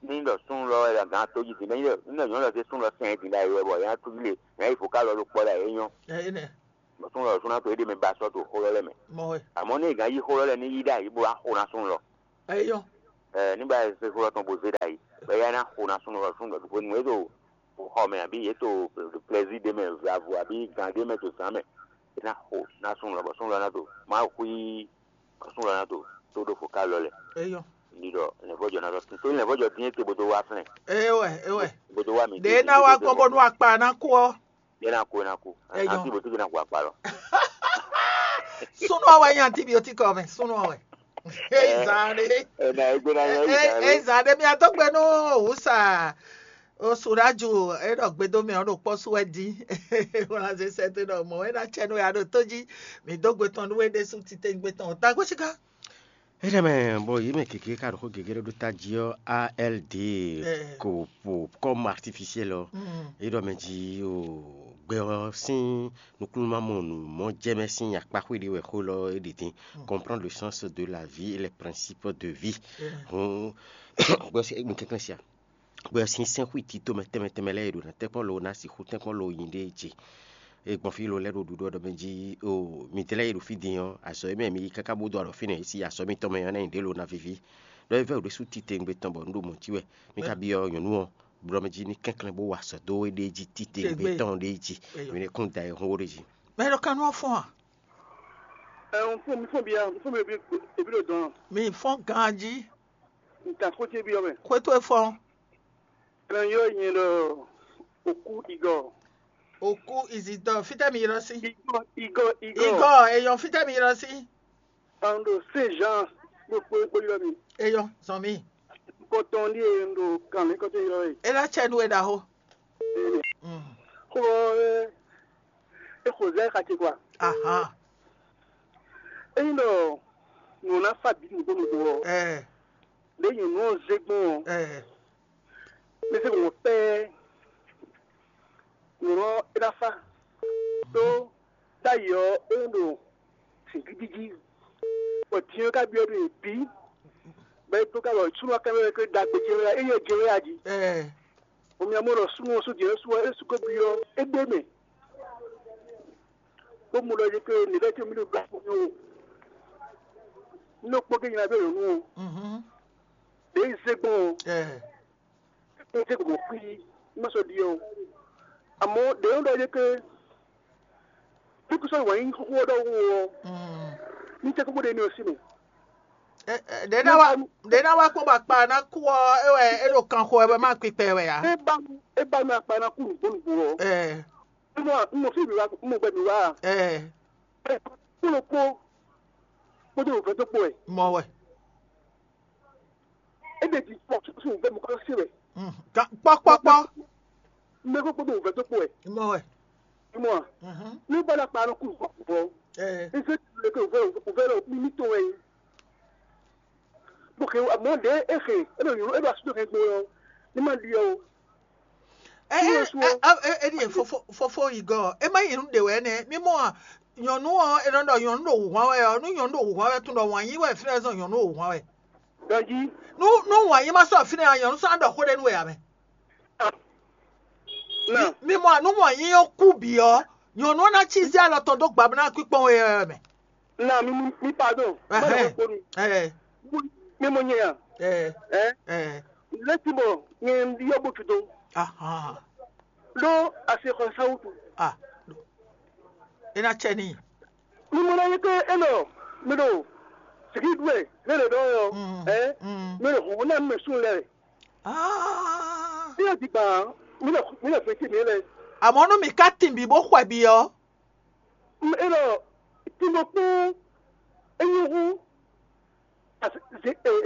Ní ɖɔ sún lɔ wɛ gán tó yí dín ní ɖɔ nyɔ̌nu lɔ dé sún lɔ sɛn dín ɖ'ayǐ wɛ bɔ yɛn á tú lé yɛn á yi fǒ ká lɔ ɖo kpɔ́ ɖ'ayǐ é nyɔ. Ɛ, énɛ́. Bɔ sún lɔ sún ná to é ɖé mɛ ba sɔ́ to xó lɔ lɛ́ mɛ. Mɔ wɛ. Àmọ́ ní è gán yí xó lɔ lɛ́ ní yí ɖ'ayǐ bó wá xo ná sún lɔ. Ɛ, é nyɔ. Ɛ ní ba se xó tɔn bo zé ɖ'ayǐ, bɔ éyɛ́ ná xo ná súnnu ɔ́ súnnu ɖɔ̌ ɖokpó nú é ɖo xɔ mɛ abǐ yě to plɛzí ɖé mɛ, vlavo abǐ gǎn ɖé mɛ to zǎn mɛ, é ná xo ná súnnu lɔ bɔ súnnu lɔ ná to má xwí bɔ súnnu lɔ ná to tó ɖo fo ká lɔ lɛ. Eyɔ. Ní ɖɔ lɛ̌nvɔ́jɔ ná tɔ́ tó lɛ̌nvɔ́jɔ dín é te bó dó wá flɛ́n. Ewɛ, ewɛ. Bó dó wá mi. Ɖě ná wá gbɔn bónú akpa ná kú ɔ́. Yɛ ná kú, é ná kú. Eyɔ. Antibiotique ná kú akpa lɔ. Súnú ɔ́ wɛ nyí antibiotique ɔ́ mɛ, súnú ɔ́ wɛ. Eyi zan ɖé. Ena egbe ná yɛ eyi zan ɖé. Eyi zan ɖé mi atɔ́ gbɛ nú wǔsa. Osu ɖo aju e ɖɔ gbedo mɛ ɔ́ ɖo kpɔ́ sú wɛ dín. Wlazɛ sɛ́ dó ɖɔ mɔ̌ wɛ ná cɛ nú ya ɖo tó jí. Mǐ dó gbe tɔn nú we ɖésú titewungbe tɔn ɔ́. Tagbó síká. Énɛ́ mɛ, bɔ yě mɛ gěgé ka ɖo xó gěgé ɖé ɖó tají ɔ́, A L D, ko po comme artificiel ɔ́, é ɖɔ mɛ jí o gbɛ ɔ́ sín nukúnnú ma mɔ nǔ mɔ jɛ mɛ sín akpáxwé ɖé wɛ xó lɔ é ɖe dín. Comprendre le sens de la vie et les principes de vie. Hǔn gbɔ sí mi kɛnklɛ́n sia. Bɔ sin sɛn xwí tito mɛ tɛnmɛ tɛnmɛ lɛ́ɛ e ɖo ná tɛ́nkpɔ́n lo ná sixú tɛ́nkpɔ́n lo nyi ɖé ce. E gbɔn fí lo lɛ́ ɖo ɖuɖɔ ɖɔ mɛ jí o mi dlɛ́ yi ɖo fí din ɔ́, azɔ̌ e mɛ mi yi káká bó dó alɔ fínɛ́ si azɔ̌ mitɔn mɛ ɔ́ ná nyi ɖě lo ná víví. Ɖɔ é vɛ́ ɖésú titewungbe tɔn bɔ un ɖo mɔ̌ cí wɛ. Mi ka byɔ́ nyɔ̌nu ɔ́, blɔ mɛ jí ní kɛnklɛ́n bó wa azɔ̌ dó é ɖée jí titewungbe tɔn ɖée jí. Mi ní kún da ɛ hún ó ɖé jí. Mɛ ɖo kanú ɔ́ fɔ́n a? Ɛ, un fún mi fún bia, un fún mi ebi ebi ɖo dɔn. Mi fɔ́n ganjí. Un ta xó ce byɔ́ mɛ. Xwé towe fɔ́n. Ɛnɛ yɔ nyɛ ɖɔ òkú igɔ. Òkú ìzìdɔ fítɛ́ mi ylɔ́ sí? Igɔ, igɔ, igɔ. Igɔ èyɔn fítɛ́ mi ylɔ́ sí? An ɖo Saint Jean kpókpó kpó ylɔ́ mi. Èyɔn zɔn mi. Kɔtɔn ɖíe un ɖo kan mi kɔtɔn ylɔ́ e. É ná cɛ nú we ɖaxó. Xó ɔ́ é xo zɛ xace kwa. Ahan. Ényí ɖɔ nǔ ná fa bǐ nǔgbó nǔgbó ɔ́, ɛ ɖě nyɔ̌nu ɔ́ zé gbɔn ɔ́, ɛ mi se mɔ pɛ́ɛ nǔ ɔ́ é ná fa. Tó ɖ'ayǐ ɔ́ é ɖo zǐngídi jí, bɔ din ɔ́ ka byɔ́ ɖo yě bǐ, bɔ é dó ká bɔ súnnu ɔ́ ká byɔ́ ɖɔ é ɖagbe jɛ́n wɛ é nyɛ jɛ́n wɛ a jí. Ɛ Omi amɔ ɖɔ súnnu ɔ́ sú jɛ́n sú ɔ́ é sú ko byɔ́ é ɖ'é mɛ. Bó mu ɖɔ yě ke nǐ lɛ́ ce mí ɖo gbɛ kpɔ́n ó. Nínú kpɔ́ gé nyina bɛ nyɔ̌nu ɔ́, ɖě yi zé gbɔn ɔ́, é zé gbɔn xwí, má sɔ́ ɖiɛ ó. Amɔ̌ ɖě nɔ ɖɔ yě ke bí kú sɔ́ wǎn yí xóxó ɔ́ ɖɔhun ɔ́, ní tɛ́ kókó ɖe ní ɔ́ sí mɛ. Ɖě ná wá kpɔ́n bɔ akpa ná kú ɔ́, é wɛ é ɖo kan xo wɛ bɔ é má kpikpɛ wɛ ǎ. É ba nú é ba nú akpa ná kú nǔgbó nǔgbó ɔ́. Ɛ, Nínú nínú fí mi wá nínú gbɛ mi wá. Ɛ, Kúló kpó kpódó nǔvɛ́ dó kpó wɛ. Mɔ wɛ. É ɖe jí kpɔ́ sín nǔvɛ́ mi kọ́ sí wɛ. Kpɔ́kpɔ́kpɔ́. Mɛ kó kpódó nǔvɛ́ dó kpó wɛ. Mɔ wɛ. Mɔ a? Ní bá ná kpa nɔ kú nǔgbó nǔgbó. Ɛ, Ní fẹ́ tu lè ké nǔvɛ́ nǔvɛ́ lɔ mí mítɔn wɛ. Bó xe amɔ̌ ɖě é xe é ɖo nyɔ̌nu é ɖo asútó xe gbe ɔ́, ní má ɖi ɔ́ o. Éɖíe fofó yi gɔ́ ɔ́, é má nyí nǔ ɖě wɛ nɛ́. Mí mɔ a, nyɔ̌nu ɔ́, è nɔ ɖɔ nyɔ̌nu ɖo wǔhwan wɛ ɔ́, nú nyɔ̌nu ɖo wǔhwan wɛ tún ɖɔ wǎn yí wɛ fínɛ́ zɔn nyɔ̌nu ɖo wǔhwan wɛ. Ganjí. Nú nú wǎn yí má sɔ́ fínɛ́ ɔ́, nyɔ̌nu sɔ́ ná ɖɔ xó ɖé nú we ǎ mɛ. Nà. Mí mɔ a, nú wǎn yí ɔ́ kú bǐ ɔ́, nyɔ̌nu ɔ́ ná cí zé alɔ tɔn dó gbabla kpíkpɔ́n we ɔ́ mɛ. Nà mi mi mi pardon. Má Ɛhɛn. Ɖɔ kponu. Ɛ Mi mɔ nyɛ ya. Ɛ Ɛ Ɛ Lɛsi bɔ nyɛ ɖiɔ bo tudo. Ahan. Ɖo ase xɔ sawutu. Ah. E na cɛ ni. Mi mɔ na nyɛ ke enɔ mi ɖo sigi ɖuɛ ne le ɖɔ yɔ. Mm. Ɛ Mm. Mi ɖo hɔn na mi sun lɛ. Ah. Mi ɖo digba mi ɖo mi ɖo fɛnti mi lɛ. Àmọ́ nú mi ká tìǹbì bó xwɛ bì ọ́. Elo timo kpó enyi hu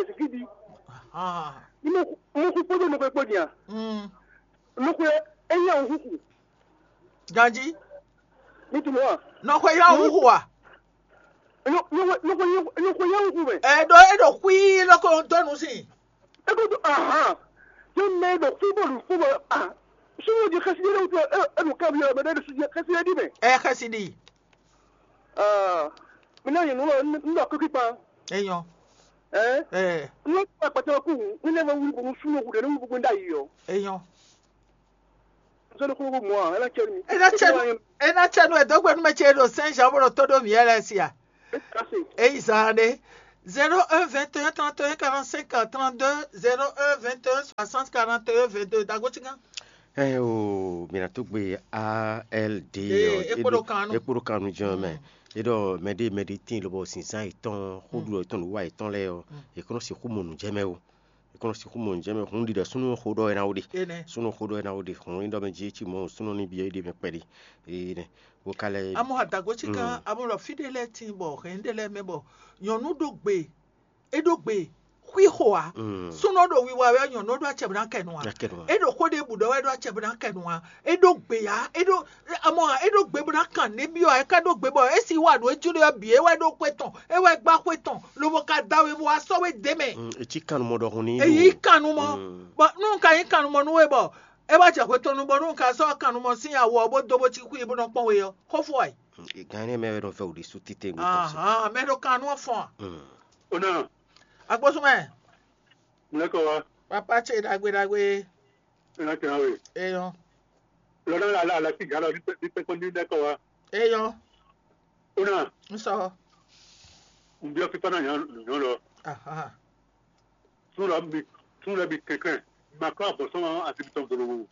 ezikidi. Mo hu kpódó nukwe kpó dia. Nukwe enyi awu huhu. Ganji. Ní timo wa. Nɔxwe yá huhu wa. Nukwe yá huhu mɛ. Ɛ ɖo e ɖo xwí lɔkɔ dɔnu si. Ekutu ahan. Jɛ mɛ ɖo fúbɔlu fúbɔlu ah. Sumu di xɛsi ɖe wutɔ enu kabi yɔ mɛ ɖe sumu xɛsi ɖe di mɛ. Ɛ xɛsi ɖi. Ah. Mi na yin nulɔ nulɔ kiki kpan. Eyɔn. Ɛ. Ɛ. Nulɔ kpa kpatɛ ku mi ne ma wuli bonu sumu wu ɖe ne wu gbogbo nda yi yɔ. Eyɔn. Nzɔn ko ko mɔ a ena cɛ mi. Ena cɛ nu ena cɛ nu edogbe nu mɛ ce ɖo Saint Jean bolo todo mi yɛ lɛ sia. Kasi. Eyi zan ɖe. Zéro un vingt et un trente et un quarante-cinq trente-deux, zéro un vingt et un soixante quarante et un vingt-deux. Dagotigan. Ɛ o, mǐ ná tó gbe A L D Ee, ɔ, é kpo ɖo kan nu. É kpo ɖo kan nu jɛ́n mɛ. É ɖɔ mɛɖé mɛɖé tíin lobɔ zǐnzán yětɔn, xóɖu yětɔn, nǔwa yětɔn lɛ́ɛ ɔ́, è kɔn nɔ sixú mɔ nǔ jɛ mɛ o. È kɔn nɔ sixú mɔ nǔ jɛ mɛ. Hun ɖiɖɔ súnnu xó ɖɔ é ná wó ɖe. Énɛ́. Súnnu xó ɖɔ é ná wó ɖe. Hun nyí ɖɔ mɛ jí é cí mɔ súnnu ní byɔ́ é ɖe mɛ kpɛɖé. Énɛ́. Wo ka lɛ́. Amɔ adago tsika, amɔ lɔ fí ɖé lɛ́ɛ tíin bɔ hɛn ɖé lɛ́ɛ mɛ bɔ nyɔ̌nu ɖó gbe, é ɖó gbe xwixo ǎ. Súnɔ ɖo wiwa wɛ, nyɔ̌nu ɖó acɛ bó ná kɛ nu ǎ. Ná kɛ nu ǎ. É ɖo xó ɖěbǔ ɖɔ wɛ ɖó acɛ bó ná kɛ nu ǎ. É ɖó gbe ǎ. É ɖó amɔ ǎ, é ɖó gbe bó ná kan nɛ́ byɔ́ ǎ. É ka ɖó gbe bɔ é si wa nǔ e jló ɔ́ bǐ, é wɛ ɖó xwé tɔn, é wɛ gbá xwé tɔn, lobo ka da we bó wá sɔ́ we d'é mɛ. Mm, é cí kannumɔ ɖɔhun ní. Èyí kannumɔ. Bɔ nú un ka nyí kannumɔ nú we bɔ é wá jɛ xwé tɔn nu bɔ nú un ka sɔ́ kannumɔ sín awo ɔ́ bó dó bó cí xwí bó nɔ kpɔ́n we ɔ́, xó fó wɛ. Gán énɛ́ mɛ wɛ nɔ vɛ́ wǔ ɖésú títewú tɔn se. Ahan, mɛ ɖo kannú ɔ́ fɔ́n a? Mm. Ó ná. Agbósúnmɛ. Mlɛkɔ wa. Papa ce ɖagbe ɖagbe. Ena tɛn we. Eyɔn. Lɔdɔ la la la ti galo ni pe ni pe ko ni dɛ kɔ wa. Eyɔn. Ona. N sɔ. N biɔ fifa na nyɔ nyɔ lɔ. Aha. Sun lɔ mi sun lɔ mi kɛkɛ. Ma kɔ abɔ sɔn ati tɔn golo.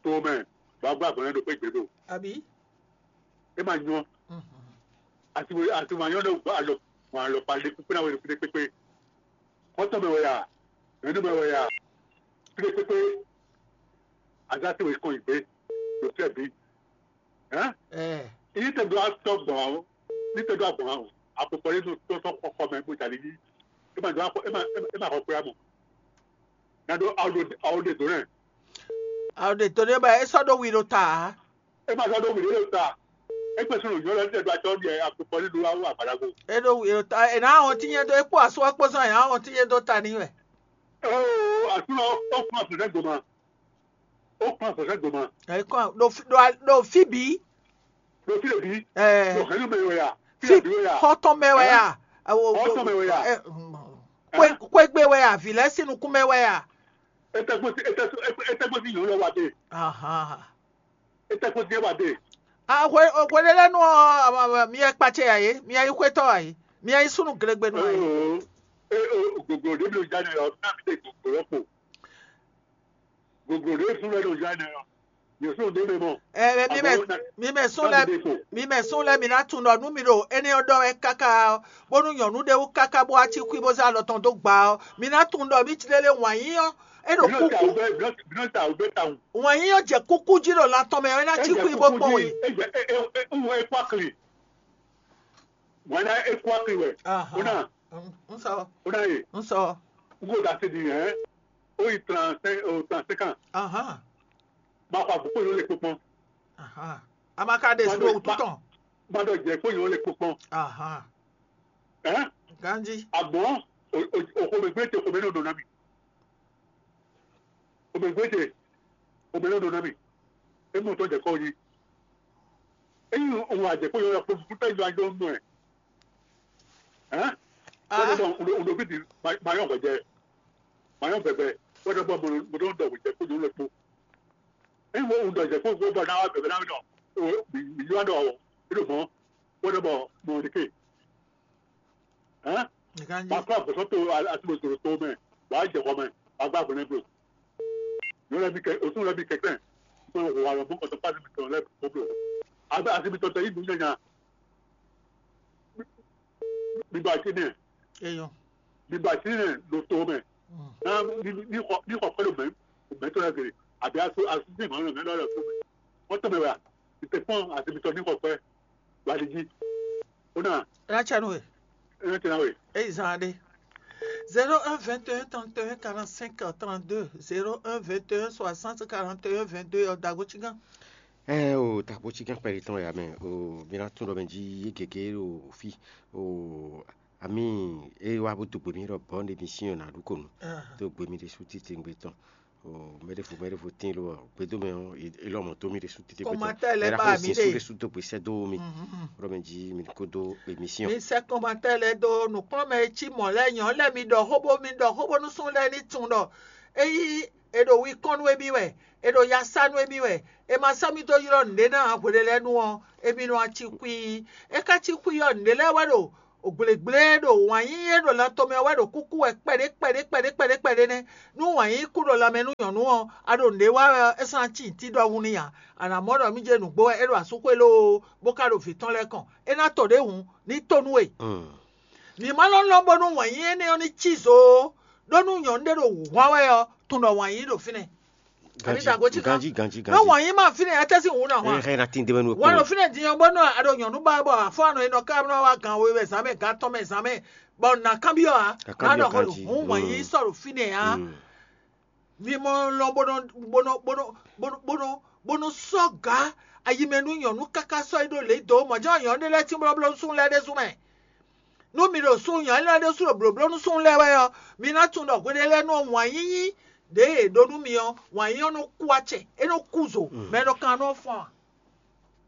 To mɛ. Ba gba gbɔn do pe gbe do. Abi. E ma nyɔ. Mhm. Ati we ati ma nyɔ do gba alɔ. Ma alɔ pa le kupe na we de kupe kpekpe. Xɔtɔn mɛ wɛ ya, nyɔ̌nu mɛ wɛ ya, kplekpekpe, azá se wɛ kɔn yi gbé, ɖo fíɛ bǐ. Hɛn? Ɛ. Ní tɛ do atɔ gbɔn ɔ, ní tɛ do agbɔn ɔ, akpɔkpɔ yé nɔ tɔtɔ xɔxɔ mɛ bó jalè yí. É ma do akɔ é ma é ma xɔ kpé amɔ. Na do awo ɖe awo ɖe do nɛ. Awo ɖe do nɛ ba é sɔ́ ɖó wi ɖo ta ǎ. E ma sɔ́ ɖó wǐɖé ɖo ta. É kpe súnnu nyɔ̌ lɛ́ɛ tɛ́ ɖó acɔ́ ɖiɛ akpɔkpɔ ní ɖó awu agbadago. É ɖó wǐ ɖo ta é ná wɔn tínye dó é kpó asú ɔ́ kpó zɔn é ná wɔn tínye dó ta n'i wɛ. Oo, asúnɔ ó kún afɔsɛ goma. Ó kún afɔsɛ goma. É kɔn ɖo fi- ɖo a- ɖo fí bǐ. Ɖo fí ɖe bí. Ɛ Ɖo hɛnú mɛ wɛ ya. Fí fi ɖe bí wɛ ya. Xɔtɔn mɛ wɛ ya. Awo Xɔtɔn mɛ wɛ ya. Ɛ, mm, Kwe kwe gbe wɛ ya, vǐ lɛ́ɛ sín nukún mɛ wɛ ya. Etɛgbó sí etɛgbó sí yòó lɔ wa dé. Ahan. Etɛgbó sí wa dé. Ah, hwe hwe ɖé lɛ́ɛ nú ɔ́, mi yɛ kpacɛ ya yě, mi yɛ nyí xwétɔ́ ya yě, mi yɛ nyí súnnu glegbenu ya yě. Oo, e o goglo ɖé mi ɖo ja nɛ ɔ, ná mi ɖe goglo lɔ kpo. Goglo ɖé súnnu lɛ ɖo ja nɛ ɔ, yě súnnu ɖé mɛ mɔ. Ɛ mi mɛ Àmọ́ na- mi mɛ sún na lɛ mi ɖe kpo. Mi mɛ sún lɛ mi ná tunwun ɖɔ nú mi ɖo énɛ́ ɔ́ ɖɔ wɛ káká ɔ́, bónú nyɔ̌nu ɖé wú káká bó wá cí xwí bó zé alɔ tɔn dó gba ɔ́, mi ná tunwun ɖɔ mí cí lélé wǎn yí ɔ́, é ɖo Bínú ta kúkú. Wǔ bɛ bínú bínú ta wǔ bɛ ta wǔ. Wǎn yí ɔ́ jɛ kúkú jí ɖo lan tɔn mɛ ɔ́, é ná cí Ejɛ xwí bó kúkú kpɔ́n jí wě. Ejɛ e e e e wɔ ekpɔ akli. Wɛn ná ekpɔ akli wɛ. Ahan. Ó ná N- N sɔ. Ó ná yè. N sɔ. N kò da se di hɛn. Ó yi trente cinq o trente cinq ans. Ahan. Ma xɔ àbúkò yóò lè kpokpɔn. Ahan. A ma ka ɖe sùn òtú tɔn. Ma ɖɔ jɛ kó yóò lè kpokpɔn. Ahan. Hɛn. Ganji. Àmọ́ òkòmẹ̀gbẹ́ tẹ òkòmẹ́ náà dɔn ná mi. Òkòmẹ̀gbẹ́ tẹ òkòmẹ́ náà dɔn ná mi. É mú tọ́ jẹ kọ́ yìí. Ényí òun àjẹkó yóò lọ kpokpɔn fún tẹ́jú ajọ́ mú ẹ̀. Hɛn. Wọ́n ti dɔn òdòbí di mayọ̀ gbẹ̀jẹ̀ mayọ̀ gbẹ̀gbẹ̀ wọ́n ti bọ̀ mọ̀nà mọ̀nà dọ̀ gbẹ̀jẹ̀ kó yóò lọ kpó. Ényí wọ́n ń dọ̀ jẹ́ kó gbọ́ náà wá bẹ̀rẹ̀ náà nọ, mi yóò dọ̀ ọ́, nínú mọ́, wọ́n dọ̀ bọ̀ mọ́ ní ké. Hɛn? Nìkan jí. Wàá kọ́ àgbọ̀sọ́ tó àti mọ̀tòrò tó mẹ́, wàá jẹ kọ́ mẹ́, wàá gbá àgbọ̀n nẹ́gbẹ̀ẹ́. Yóò lẹ́bi kẹ, òtún lẹ́bi kẹ̀kẹ́, mo wà lọ mú kọ̀tọ̀ pàṣẹ mi tọ̀ lẹ́bi kóblò. Àbẹ́ àti mi tọ̀tọ̀ yìí dùn yẹn yàn. Mi ba ti nɛ. Eyɔn. Mi ba ti nɛ ɖo to mɛ. Mm. Na ni ni xɔ ni xɔ kpɛ ɖo mɛ mɛ tɔ lɛ gele abi aso aso ti ma lɔ mɛ lɔ lɛ to mɛ. Wọ́n tọ́ mɛ wɛ a? Ìtẹ̀kùn àti mi tọ́ ní xɔ kpɛ. Wà á di jí. Ó nà. Ẹ ná tẹ nú we. Ẹ ná tẹ nú we. Eyi zan ɖe. Zéro un vingt et un trente et un quarante-cinq trente-deux, zéro un vingt et un soixante quarante et un vingt-deux ɔ dago tsigán. Ɛ o, takpo tsigán kpɛɖé tɔn ya mɛ o, mi ná tún ɖɔ mɛ jí yé gěgé ɖo fí o, ami e wá bó dó gbe mì ɖɔ bɔn ɖe mi sín ɔ́ nǎ ɖu ko nu. Dó gbe mì ɖésú títí ngbé tɔn. O mɛ ɖěvo mɛ ɖěvo tín ló ɔ gbedó mɛ ɔ́, é lɔmɔ dó mì ɖésú títí ngbé tɔn. Kɔmatɛ lɛ ba mi ɖe. Ɖésú dó gbe sɛ dó mi. Ɖɔ mɛ jí mi kó dó émission. Mi sɛ kɔmatɛ lɛ dó nǔkplɔ́nmɛ e cí mɔ̌ lɛ́ɛ nyɔ̌ lɛ́ɛ mi ɖɔ xó bó mi ɖɔ xó bónú sún lɛ́ɛ ní tunwun ɖɔ é yí è ɖo wi kɔn nú émí wɛ, è ɖo ya sá nú émí wɛ, è ma sɔ́ mì dó ylɔ́ nǔɖé ná ǎ hweɖé lɛ́ɛ nu ɔ́, émí nɔ wá cí xwí. É ka cí xwí ɔ́, nǔɖé lɛ́ɛ wɛ ɖo Gblěgblé e ɖo wǎn yíyí e ɖo lan tɔn mɛ ɔ́ wɛ ɖo kúkú wɛ kpɛɖé kpɛɖé kpɛɖé kpɛɖé kpɛɖé nɛ́. Nú wǎn yíyí kú ɖo lanmɛ nú nyɔ̌nu ɔ́, a ɖo nǔɖé wa wɛ ɔ́, é sɔ́ ná cí nǔtí ɖɔhun n'i ǎ. A nǎ mɔ ɖɔ mí jɛ nǔgbó wɛ é ɖo asúxwé lóoo, bó ka ɖo vǐ tɔn lɛ́ɛ kɔn. É ná to ɖě hǔn, ní tó nú we. Mǐ ma nɔ lɔn bónú wǎn yíyí énɛ́ ɔ́ ní cí zo ó, ɖó nú nyɔ̌nu ɖé ɖo wǔhwan wɛ ɔ́, tunwun ɖɔ wǎn yíyí ɖo fínɛ́. Àbí dǎgó cí kan? Ganjí, ganjí, ganjí. Nú wǎn yíyí ma fínɛ́, étɛ́ sín wǔ ná hwan? Ɛ hɛn na tín débɛ́ nú Wǎn ɖo fínɛ́ din ɔ́, bónú a ɖo nyɔ̌nu ba bɔ afɔ anɔ e nɔ ká nɔ wá gan we wɛ zǎn mɛ, gan atɔn mɛ zǎn mɛ, bɔ nǎ kanbyɔ́ ǎ. Nǎ ɖɔ xó ɖo hǔn wǎn yíyí sɔ́ ɖo fínɛ́ ǎ. Mi mɔ lɔn bó nɔ bó nɔ bó nɔ bó nɔ bó nɔ bó nɔ sɔ́ gǎ ayi mɛ nú nyɔ̌nu káká sɔ́ yi ɖó lě dó mɔ̌ jɛ́n nyɔ̌nu ɖé lɛ́ɛ tín blɔ́blɔ́ nú súnnu lɛ́ɛ ɖésú mɛ. Nú mi ɖo súnnu nyɔ̌nu lɛ́ɛ ɖésú ɖo blǒbló nú súnnu lɛ́ɛ wɛ ɔ́, mi ná tunwun ɖɔ hweɖé lɛ́ɛ nú wǎn yíyí ɖě e è ɖó nú mi ɔ́, wǎn yíyí ɔ́ nɔ kú acɛ, é nɔ kú zo, mɛ e nɔ kan nɔ fɔ́n ǎ.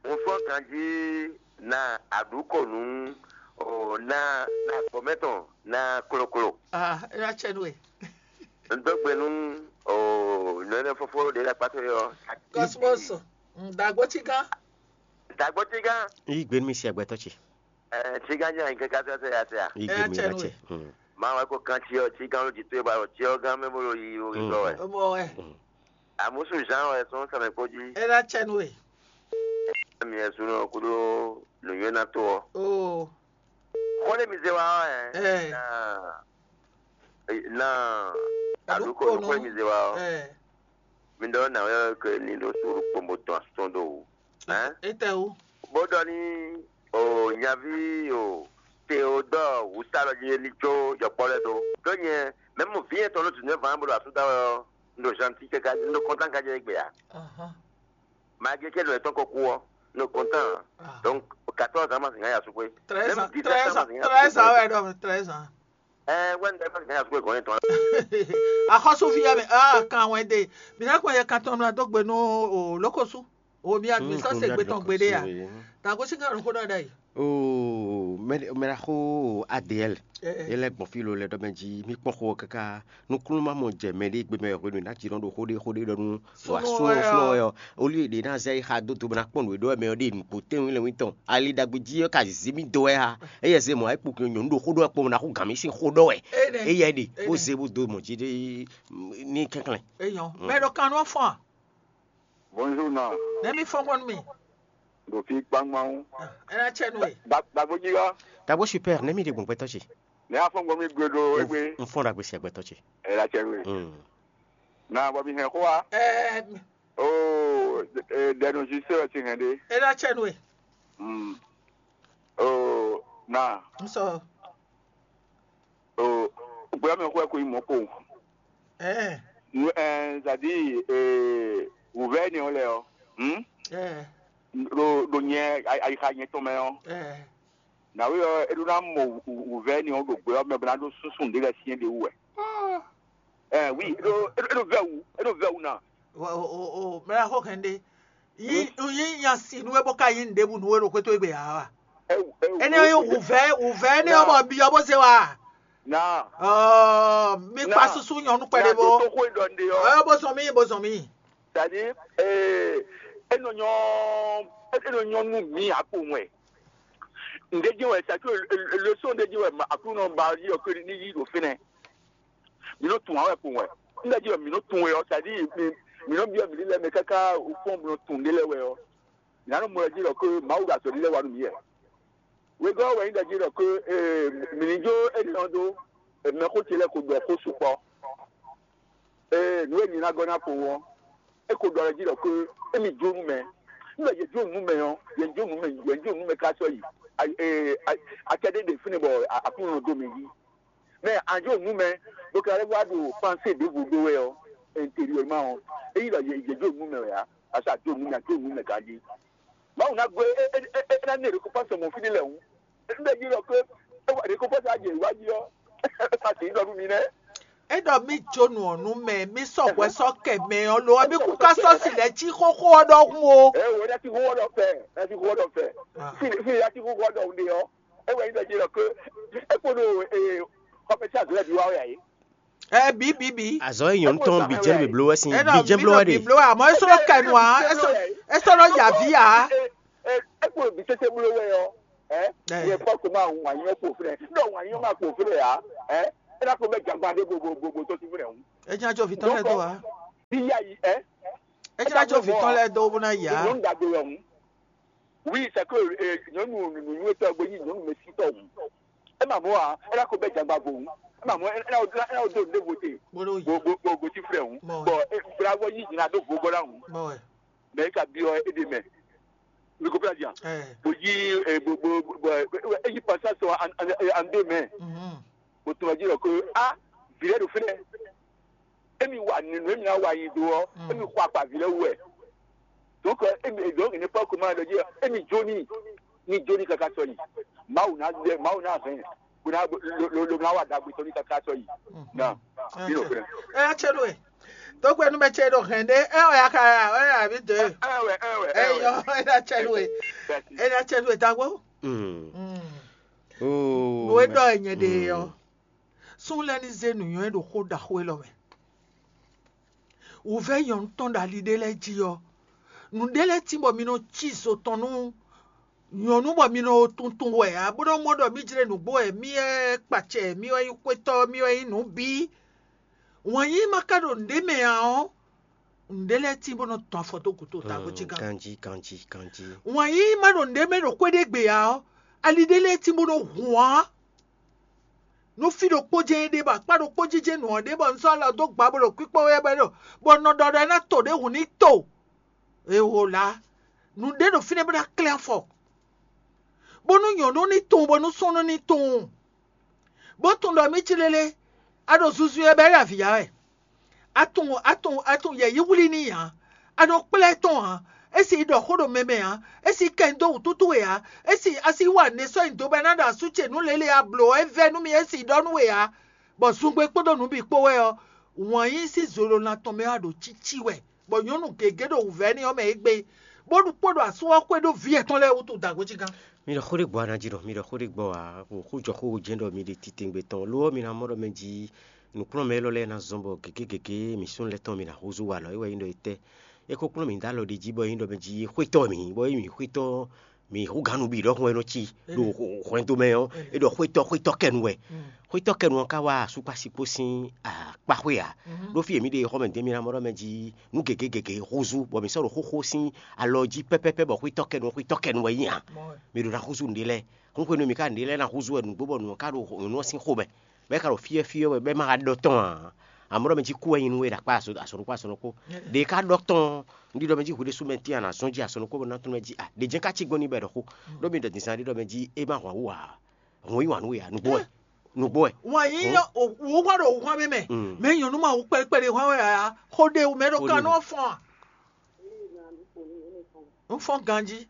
Un fɔ́n ganjí na aɖǔkɔnǔ, o na na gbɔmɛ tɔn na kloklo. Ah, é ná cɛ nú we. Un dó gbe nú o nɔ́nɛ́ fófó ɖě ɖo akpá towe ɔ́. Cosmos, dǎgbó cí gán. Dǎgbó cí gán. Yí gbe nú mi si agbɛtɔ́ ce. Ɛ cí gán jẹ́ àyín kẹ́kẹ́ sẹ́sẹ́ ya sẹ́ a. Yí gbe nú mi bá cɛ. Máa wá kó kan cyɔ cí gán ló jí tó e ba ɖo cyɔ gán mɛ bó ɖo yiyi ɖo gígɔ wɛ. Ó mɔ wɛ. Àmúsù Jean wɛ sɔ́n sɛmɛ kpó jí. É ná cɛ nú we. Émi wɛ súnɔ kúɖó nǔnywɛ́ ná tó ɔ́. Oo. Xó ɖé mi zé wá ɔ́, ɛ. Ɛ. Na aɖúkɔ xó ɖé mi zé wá ɔ́. Ɛ. Mi ɖɔ nǎ wɛ ke ní ɖo suúlu kpombo tɔn asɔ́n ɖo wǔ. Ɛ. Étɛ́ wú? Bó ɖɔ ní o nyaví o Teodɔ́ɔ wǔ sa ɖɔ jí ní jó yɔkpɔ́ lɛ́ɛ dó. Ɖó nyɛ mɛ̌ mɔ vǐ yɛn tɔn ɖó dǐndɛ́ vǎn bó ɖo asú da wɛ ɔ́, un ɖo zantín káká un ɖo kɔntán káká jɛ égbé ǎ. Malgré que nɔ yětɔn ko kú ɔ́, un ɖo kɔntán ǎ. Donc quatorze ans ma zǐn ká ya sú xwé. Treize ans, treize ans, treize ans wɛ ɖɔ treize ans. Ɛ wɛ un ɖe ma zǐn ká ya sú xwé gɔn yětɔn. Axɔ́súví yɛ mɛ ah kan wɛn ɖe. Mǐ ná kpɔn yɛ kan tɔn nɔ dó gbe nú o lókosú. O mi a mi sɔ se gbe tɔn gbeɖé a? Ta gosín ká ɖo xó ɖɔ ɖ'ayǐ. Oo, mɛ mɛ ɖaxó A D L. Ɛ, ɛ. Yé lɛ́ gbɔn fí lo lɛ ɖɔ mɛ jí mí kpɔ́n xó ɔ́ káká nukúnnú má mɔ jɛ mɛ ɖé gbe mɛ hwenu ná jí nɔ ɖo xó ɖé xó ɖé ɖɔ nú wa súnɔ súnɔ wɛ ɔ́. Olú ɖě ná zɛ yi xa dó do bɔ ná kpɔ́n nǔ e ɖɔ wɛ mɛ ɔ́ ɖe nǔgbó tɛ́nwún lɛ́nwún tɔn. Ali ɖagbe jí ɔ́ ka zǐ mì dó wɛ ha. Éyɛ́ zé mɔ̌ é kpo nyɔ̌nu ɖo xó ɖɔ wɛ kpo ná xú gǎn mì sín xó ɖɔ wɛ. Éyɛ́ ɖe bó zé bó dó mɔ̌ jí ɖé ní kɛnklɛ́n. Eyɔn, mɛ ɖɔ kan nɔ fɔn a? Bonjour na. Nɛ mi fɔn gbɔn nú mi. Ɖo fí kpángban. Ɛ ná cɛ nú we. Dagbojiɣa. Dagbo super, nɛ mi ɖe gbɔn gbɛtɔ́ ce. Ne afɔ gbɔ mi gbe ɖo egbe. N fɔn ɖagbe sia gbɛtɔ́ ce. Ɛ la cɛ nú we. Mm. Na bɔ mi hɛn xó wa. Ɛ Oo, ɖɛnu zi se wɛ ti hɛn ɖe. Ɛ ná cɛ nú we. Mm. Oo, na. N sɔ. Oo, gbɛ mi xɔ ko yi mɔ ko. Ɛ. Nu ɛ zadi ee wuvɛ ni o lɛ o. Hmm? Ɛ. Ɖo ɖo nyɛ ayixa nyɛ tɔn mɛ o. Ɛ. Nawe ɔ eɖo na mɔ wuvɛ ni o ɖo gbɛ ɔ mɛ bɔ na ɖo susu ɖe lɛ siɛ ɖe wu wɛ. Ɔ. Ɛ wi eɖo eɖo vɛ wu eɖo vɛ wu na. O o o mɛ la xɔ kɛn ɖe. Yi yi nya si nu e bɔ ka yi nu ɖebu nu e ɖo xwétó egbe ya wa. Ɛ wu ɛ wu. Ene ye wuvɛ wuvɛ ne ɔmɔ bi ɔmɔ se wa. Na. Ɔ mi kpa susu nyɔnu kpɛɖe bo. Ɔ bo zɔn mi bo zɔn mi. C'est-à-dire, ee, enɔ nyɔ enɔ nyɔ nú mi akpo wɛ. Ǹdé jí wɛ, c'est-à-dire, leçon ǹdé jí wɛ Aklúnɔ ba yí ɔkɔ ní yí ɖo fínɛ́. Mi nɔ tún awɛ kpo wɛ. Ńdá jí wɛ mi nɔ tún wɛ ɔ́, c'est-à-dire, mi mi nɔ byɔ́ mi lílɛ mɛ káká fɔ́n mi nɔ tún ɖé lɛ́ɛ wɛ ɔ́, mi ná nɔ mɔ jí ɖɔ ké Mawu ɖo azɔ̌ lílɛ wa nú mi wɛ. Wegɔ́ wɛ nyí ɖɔ jí ɖɔ ké ee mi ní jó énɛ́ ɔ́ dó mɛxó ce lɛ́ɛ ko ɖɔ xó sukpɔ́. Ee, nǔ e mi ná gɔ́ ná kpowun ɔ́, é ko ɖɔ lɛ́ jí ɖɔ ké émi jó nú mɛ. Nígbà yě jó nǔ mɛ ɔ́, yě jó nǔ mɛ, yě jó nǔ mɛ ká sɔ́ yi. Acɛ ɖé ɖe fínɛ́ bɔ Aklúnɔ dó mɛ jí. Mɛ a jó nǔ mɛ, bó ka lɛ́ wá ɖo pansé ɖěvo ɖó wɛ ɔ́, intérieur ma ɔ́, é nyí ɖɔ yě jó nǔ mɛ wɛ ǎ, parce que a jó nǔ mɛ, a jó nǔ mɛ ganjí. Mawu ná gbe é é é ná ní récompense mɔ fínɛ́ lɛ́ɛ hǔn. Nígbà yě ɖɔ ké é wá récompense á jɛ ìwádìí ɔ́, é ma sì ɖɔ nú mi nɛ́. É ɖɔ mí jó nǔ ɔ́ nú mɛ, mí sɔ́ hwɛ sɔ́ kɛ mɛ ɔ́ lo ɔ́, mí kú ká sɔ́ si lɛ́ cí xóxó ɔ́ ɖɔhun o. Ɛ wò ná ti xóxó ɖɔ fɛ, ná ti xóxó ɖɔ fɛ. Fí fí ná ti xóxó ɖɔ ɖe ɔ́, é wɛ nyí ɖɔ jí ɖɔ ké é kpo ɖo xɔmɛsí azɔ̌ lɛ́ɛ bǐ wá wɛ ǎ é. Ɛ bǐ bǐ bǐ. Azɔ̌ e nyɔ̌nu tɔn bǐ jɛ nú bǐbló wɛ sín bǐ jɛ bló wɛ ɖe. Bǐbló wɛ àmọ́ é sɔ́ nɔ kɛ nu ǎ, é sɔ́ é sɔ́ nɔ ya vǐ ǎ. É kpo bǐ tete bló wɛ ɔ́. Ɛ, Ɛ. Yɛ fɔ ko ma wà nyɔ kpo fúnɛ. Ɖɔ wà nyɔ ma kpo fúnɛ ya. Ɛ, ɛ na ko bɛ jagba ɖe bobo bobo tó ti fúnɛ ŋu. Ɛ jẹ́ àjọ vìtán lɛ dó wa. Bí yá yi ɛ. Ɛ jẹ́ àjọ vìtán lɛ dó bó ná yá. Nyɔnu dagbe wɛ ŋu. Oui, c'est que nyɔnu nunu yóò tɔ gbé yí nyɔnu mɛ si tɔ ŋu. Ɛ ma mɔ a, ɛ na ko bɛ jagba go ŋu. Ɛ ma mɔ ɛ na ɛ na do ne vote. Bolo yi. Bo bo bo bo ti fúnɛ ŋu. Mɔ. Bɔn ɛ fúnra wɔ yí nyina do vogo la ŋu. Mɔ wɛ. Mɛ ka biɔ e de mɛ. Mi ko fla jan. Ɛ. Bo yi e bo bo bo e yi pasa sɔ an an an de mɛ. Mhm. Bo tun ji lɔ ko a vile do fle. Emi wa ninu emi na wa yi do ɔ. Mm. Emi xɔ akpa vile wɛ. Donc emi donc ne pas comment de dire emi joni ni joni kaka sɔ yi. Mawu na de mawu na hɛn. Kuna lo lo lo na wa dagbe sɔ ni kaka sɔ yi. Na. Ɛ, Bino fle. Ɛ, atsɛ ɖo ɛ. Tɔgbe nu mɛ tsɛ ɖo hɛn ɖe. Ɛ, ɔya ka ya, ɔya bi de. Ɛ wɛ ɛ wɛ. Ɛ yɔ, ɛ na tsɛ ɖo ɛ. Ɛ na tsɛ ɖo ɛ tagbo. Mm. Mm. Oh. Nǔ e ɖɔ ɛ nyɛ ɖe ɔ. Sún lɛ́ɛ ní zé nǔnywɛ́ ɖo xó ɖaxó élɔ́ mɛ. Wǔvɛ́ nyɔ̌nu tɔn ɖo ali ɖé lɛ́ɛ jí ɔ́, nǔɖé lɛ́ɛ tín bɔ mi nɔ cí zo tɔn nú nyɔ̌nu bɔ mi nɔ tuntun wɛ ǎ, bó nɔ́ mɔ ɖɔ mí jlé nǔgbó wɛ, mí wɛ kpacɛ, mí wɛ nyí xwétɔ́, mí wɛ nyí nǔ bǐ. Wǎn yíyí ma ka ɖo nǔɖé mɛ ǎ ɔ́, nǔɖé lɛ́ɛ tín bó nɔ tɔn afɔ dó gǔdo tago jí gán. Ganjí, ganjí, ganjí. Wǎn yíyí ma ɖo nǔɖé mɛ ɖo xwé ɖé gbe ǎ ɔ́, ali ɖé lɛ́ɛ tín bó nɔ hun ǎ. Nú fí ɖokpó jɛ́n é ɖe bɔ akpá ɖokpó jijɛ nǔ ɔ́ ɖe bɔ un sɔ́ alɔ dó gba bó ɖo kpíkpɔ́ wɛ bɔ é ɖo bɔ un nɔ ɖɔ ɖɔ é ná to ɖěhun ní to. Ewo la, nǔɖé ɖo fínɛ́ bó ná klɛ́n afɔ, bónú nyɔ̌nu ní tunwun bónú súnnu ní tunwun, bó tunwun ɖɔ mí cí lélé, a ɖo zunzun e bɔ é ɖo avǐ ya wɛ. A tunwun a tunwun a tunwun yɛ̌yi wlí n'i ǎ. A nɔ kplá ɛ tɔn ǎ. É si ɖɔ xó ɖo mɛ mɛ ǎ. É si kɛ nyi dó wǔtútú we ǎ. É si a si wa nɛ sɔ́ nyi do bɔ é ná ɖo asú ce nǔ lě lě a blǒ ɔ́, é vɛ́ nú mì é si ɖɔ nú we ǎ. Bɔ zungbe kpódó nǔ bǐ kpó wɛ ɔ́, wǎn yí sín zolo lan tɔn mɛ wá ɖo cící wɛ, bɔ nyɔ̌nu gěgé ɖo wǔvɛ́ n'i ɔ́ mɛ égbé, bó ɖu kpó ɖo asú ɔ́ xwé ɖó vǐ yɛtɔn lɛ́ɛ wútu dǎgbó cí gán. Mi ɖɔ xó ɖé gbɔ a ná jí ɖɔ mi ɖɔ xó ɖé gbɔ ǎ, xó jɔ xó jɛ́n ɖɔ mi ɖe titewungbe tɔn lo ɔ́, mi ná mɔ ɖɔ mɛ jí nǔkplɔ́nmɛ élɔ́ lɛ́ɛ ná zɔ́n bɔ gěgé gěgé mi súnnu lɛ́ɛ tɔn mi ná húzú walɔ é wɛ nyí ɖɔ é tɛ́. É ko kplɔ́n mǐ dó alɔ ɖi jí bɔ é nyí ɖɔ mɛ jí xwétɔ́ mǐ, bɔ é nyí mǐ xwétɔ́ mǐ hú gǎn nǔ bǐ ɖɔhun wɛ nɔ cí ɖo hwɛndo mɛ ɔ́, é ɖɔ xwétɔ́ xwétɔ́ kɛnu wɛ. Xwétɔ́ kɛnu ɔ́ ka wá asúkpásikpó sín akpáxwé ǎ. Ɖó fí e mǐ ɖe xɔmɛ dě mi ná mɔ ɖɔ mɛ jí nǔ gěgé gěgé húzú bɔ mǐ sɔ́ ɖo xóxó sín alɔ jí pɛ́pɛ́pɛ́ bɔ xwétɔ́ kɛnu xwétɔ́ kɛnu wɛ nyí ǎ. Mǐ ɖo ná húzú nǔɖé lɛ́ɛ. Hún hwenu e mǐ ka ɖu nǔɖé lɛ́ɛ ná húzú wɛ nǔgbó bɔ nǔ ɔ́ ka ɖo nyɔ̌nu ɔ́ sín xomɛ, bɔ é ka ɖo fyɔ́fyɔ́ wɛ bɔ é ma ka ɖɔ tɔn ǎ. Amɔ̌ ɖɔ mɛ jí kú wɛ nyí nú we ɖo akpá asɔ̌ ɖokpó asɔ̌ ɖokpó. Ɖě ká ɖɔ tɔn un ɖiɖɔ mɛ jí hwiɖésú mɛ tín a nǎ zɔ́n jí asɔ́ nukún bɔ ná tún mɛ jí a ɖě jɛ́n ká cí gbɔn n'i bɔ è ɖɔ xó. Ɖó mi ɖɔ din zán ɖiɖɔ mɛ jí é má hwan wú ǎ. Hɔn yí wǎn nú we ǎ, nǔgbó wɛ. Nǔgbó wɛ. Wǎn yí wǔ hwan ɖo wǔ hwan mɛ mɛ. Mɛ nyɔ̌nu ma wú kpɛɖekpɛɖe hwan wɛ ǎ. Xó ɖe wú mɛ ɖo Xó ɖe kanú wú. Ɔ́ fɔ́n a? Un fɔ́n ganjí.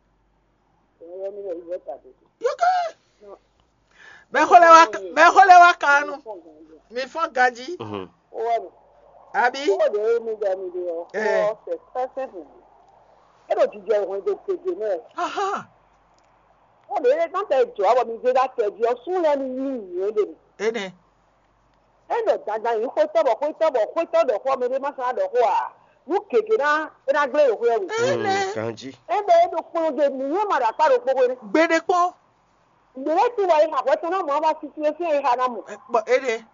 Yókè. Bɛxó lɛ wá bɛxó lɛ wá kanu. Mi fɔ́n ganjí. Àbí? Ó de mi dɛ mi de ɔ. Ɛ. Ɔ sɛ pɛsɛn fún mi. E ɖo jijɛ hwɛndo gege mɛ. Aha. Ó de e kan tɛ jɔ abɔ mi de da tɛ di ɔ sún lɛ mi yi yi de mi. Ene. E nɔ dandan yi xwetɔ bɔ xwetɔ bɔ xwetɔ ɖɔ xɔ mi de ma san ɖɔ xɔ a. Nu gege na e na gble ɖo xwɛ mi. Ene. Ganjí. E bɛ e ɖo kplɔn de mi yɛ ma ɖo akpa ɖo kpokpo ne. Gbeɖe kpɔn. Mǐ lɛ́ tunwun bɔ è xa hwɛ tɔn ná mɔ ɔ́ wá sísí e fín e xa ná mɔ. Bɔ é ɖe.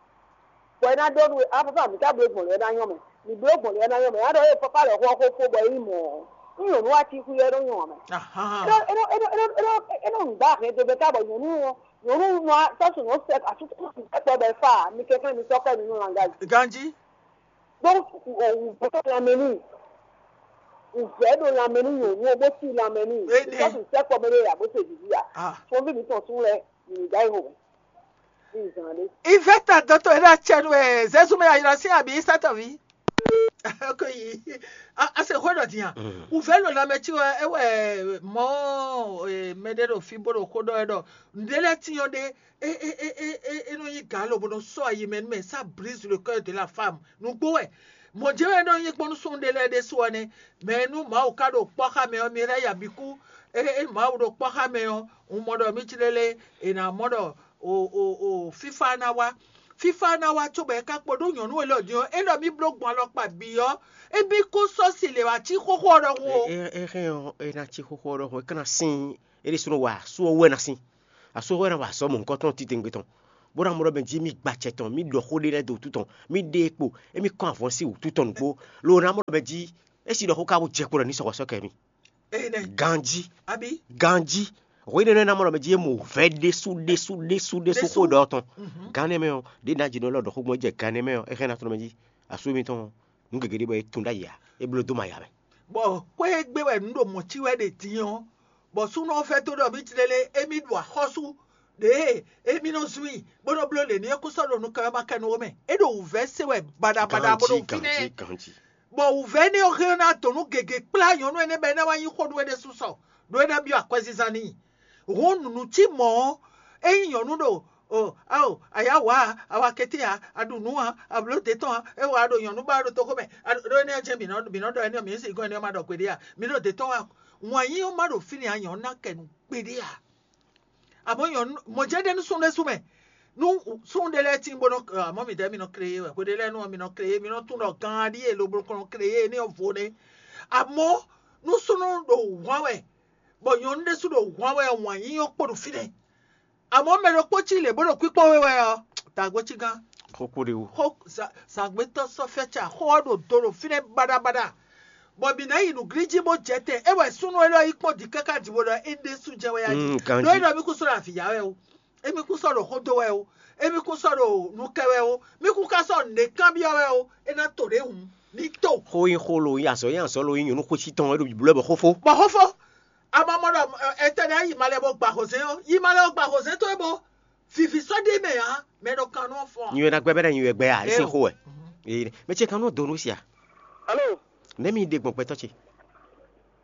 Bɔ é ná ɖɔ nú we, a papa mǐ ka bló gbɔn lě ɔ́ ná nyɔ́ mɛ. Mǐ bló gbɔn lě ɔ́ ná nyɔ́ mɛ. Ná ɖɔ ée papa lɛ́ xó ɔ́ xó fó bɔ é nyí mɔ̌ ɔ́. Nú nyɔ̌nu wá cí xwí ɔ́ é nɔ nyɔ́ ǎ mɛ. Ahán. É nɔ é nɔ é nɔ é nɔ é nɔ é nɔ nǔ gbá hɛn dó bɛ́ ká bɔ nyɔ̌nu ɔ́ nyɔ̌nu nɔ sɔ́ sɔ́ sɛ́ asú sɛ́kpɔ́ bɛ́ fá mi kɛnklɛ́n mi sɔ́ kɔ mi nú langáji. Ganjí. Donc wǔvɛ́ lanmɛ n'i, wǔvɛ́ ɖo lanmɛ n'i nyɔ̌nu ɔ́ bó cí lanmɛ n'i. Énɛ́. Because sɛ́kpɔ́ mɛ ɖé ya bó se vǐví a. Ah. Fɔnví mǐtɔn sún lɛ́ɛ mǐ ɖó ayihó mɛ. Ní zǎn ɖé. Ivɛta dɔtɔ e ɖo atsɛ nu wɛ Zɛzu mɛ ayra sín abi satɔvi. Ko yi. A se xwe ɖɔ din a. Wǔvɛ́ ɖo lanmɛ cí wɛ é wɛ mɔ mɛ ɖé ɖo fí bó ɖo xó ɖɔ wɛ ɖɔ nǔɖé lɛ́ɛ tín ɔ́ ɖé é é é é é é nɔ nyí gǎ lobo nɔ sɔ́ ayi mɛ nú mɛ, ça brise le cœur de la femme. Nǔgbó wɛ. Mɔ̌ jɛ́n wɛ é nɔ nyí gbɔn nú súnnu ɖé lɛ́ɛ ɖésú ɔ́ nɛ́. Mɛ e nú Mawu ka ɖo kpɔ́ xá mɛ ɔ́, mi lɛ́ ya bǐ kú. É é Mawu ɖo kpɔ́ xá mɛ ɔ́, un mɔ ɖɔ mí cí lélé, è nǎ mɔ ɖɔ o o o fífá ná wá. Fífá ná wá cóbɔ é ka kpo ɖó nyɔ̌nu élɔ́ din ɔ́, é ɖɔ mí bló gbɔn alɔkpa bǐ ɔ́, é bí kú sɔ́ si lě wá cí xóxó ɔ́ ɖɔhun o. É é é hɛn ɔ́, é ná cí xóxó ɔ́ ɖɔhun, é ka ná sín, é ɖésúnɔ wa sú ɔ́ wú wɛ ná sín. Asú hwɛ ná wa azɔ̌ mɔ̌hunkɔtɔn titewungbe tɔn, bó ná mɔ ɖɔ mɛ jí mì gba acɛ tɔn, mì ɖɔ xó ɖé lɛ́ɛ dó wútu tɔn, mì ɖe kpo, émí kɔn avɔn sín wǔtu tɔn nǔgbó, lo ná mɔ ɖɔ mɛ jí é si ɖɔ xó ka bó jɛ kpo ɖɔ ní sɔxɔ sɔ́ kɛ mì. Ganjí, ganjí. Hwéɖénú e ná mɔ ɖɔ mɛ jí é mɔ vɛ̌ ɖésú ɖésú ɖésú ɖésú xó ɖɔ tɔn. Gán nɛ́ mɛ ɔ́, ɖě ná jǐ nɔ lɔ ɖɔ xó gbɔn jɛ gán nɛ́ mɛ ɔ́, é hɛn ná tɔn mɛ jí asú mitɔn nǔ gěgé ɖé bɔ é tun ɖ'ayǐ ǎ, é bló dó mɛ aya mɛ. Bɔ xwé e gbe wɛ nǔ ɖo mɔ̌ cí wɛ ɖe din ɔ́, bɔ súnɔ ɔ́ vɛ́ dó ɖɔ mì tlélé émí ɖu axɔ́sú ɖěe émí nɔ zun i bó nɔ bló lě ní é kún sɔ́ ɖo nukɛnmɛ ma kɛ nú ó mɛ. É ɖo wǔvɛ́ se wɛ baɖabaɖa bó ɖo fínɛ́. Bɔ wǔvɛ́ énɛ́ ɔ́ hɛn ná dǒ nú gěgé kplá nyɔ̌nu énɛ́ bɔ é ná wá nyí xó nú é ɖésú sɔ, ɖó é ná byɔ́ akwɛzizan n'i. Hǔn nǔnú cí mɔ̌ ɔ́, ényí nyɔ̌nu ɖo o ao ayǎ wǎ a, awakɛtɛ́ ǎ, a ɖu nǔ ǎ, a blǒ dě tɔn ǎ, é wǎ ɖo nyɔ̌nu ba ɖo toxo mɛ, ɖó énɛ́ ɔ́ jɛ́n mǐ nɔ mǐ nɔ ɖɔ énɛ́ ɔ́, mǐ nɔ sixú énɛ́ ɔ́ ma ɖɔ gbeɖé ǎ. Mǐ ɖo dě tɔn wá. Wǎn yíyí ɔ́ ma ɖo fínɛ́ ǎ, nyɔ̌nu ná kɛ nǔ gbeɖé ǎ. Amɔ̌ nyɔ̌nu mɔ̌ jɛ́n ɖe nú súnnu ɖésú mɛ. Nú súnnu ɖé lɛ́ɛ tín bó nɔ amɔ̌ mǐdɛɛ mǐ nɔ kreyé wɛ, hwe ɖé lɛ́ɛ nú ɔ́ mǐ nɔ kreyé, mǐ nɔ tunwun ɖɔ gan ɖíe lobo nɔ kreyé énɛ́ ɔ́ vo nɛ́. Amɔ̌ nú súnnu ɖo hwǎn wɛ, bɔ nyɔ̌nu ɖésú ɖo hwǎn wɛ ɔ́, wǎn yíyí ɔ́ kpo ɖo fínɛ́. Amɔ̌ mɛ ɖokpó cí lě bó ɖo kwíkpɔ́n we wɛ ɔ́, dǎgbó cí gán. Xókó ɖé wú. Xó zǎngbétɔ́ sɔ́ fɛ́ ca, xó ɔ́ ɖo do ɖo fínɛ́ baɖabaɖa. Bɔ mǐ ná yi nǔglíjí bó jɛ tɛn, é wɛ súnnu élɔ́ yi kpɔ́n dǐ káká dǐ bó ɖɔ é ɖésú jɛ́n wɛ yá jí. Ɖó é ɖɔ mì kún sɔ́ ɖo avǐ ya wɛ o, émí kún sɔ́ ɖo xó dó wɛ o, émí kún sɔ́ ɖo nu kɛ wɛ o, mí kún ka sɔ́ nǔɖé kanbyɔ́ wɛ o, é ná to ɖě hǔn ní to. Xó nyí xó lo, nyí azɔ̌ nyí azɔ̌ lo, nyí nyɔ̌nu xwécí tɔn wɛ ɖo bǐblɔ́ bɔ xófó. Bɔ xófó, a ma mɔ ɖɔ ɛtɛ ɖé yi malɛ bó gba hozɛ́n ɔ́, yi malɛ bó gba hozɛ́n towe bó vivi sɔ́ ɖ'é mɛ ǎ, mɛ ɖo kan nɔ fɔ́n. Nyi wɛ ná gbɛ bɛ́ ná nyi wɛ gbɛ a, é sín xó wɛ. Ee, mɛ ce kan nɔ do nú sia. Alo. Nɛ̌ mi ɖe gbɔn gbɛtɔ́ ce?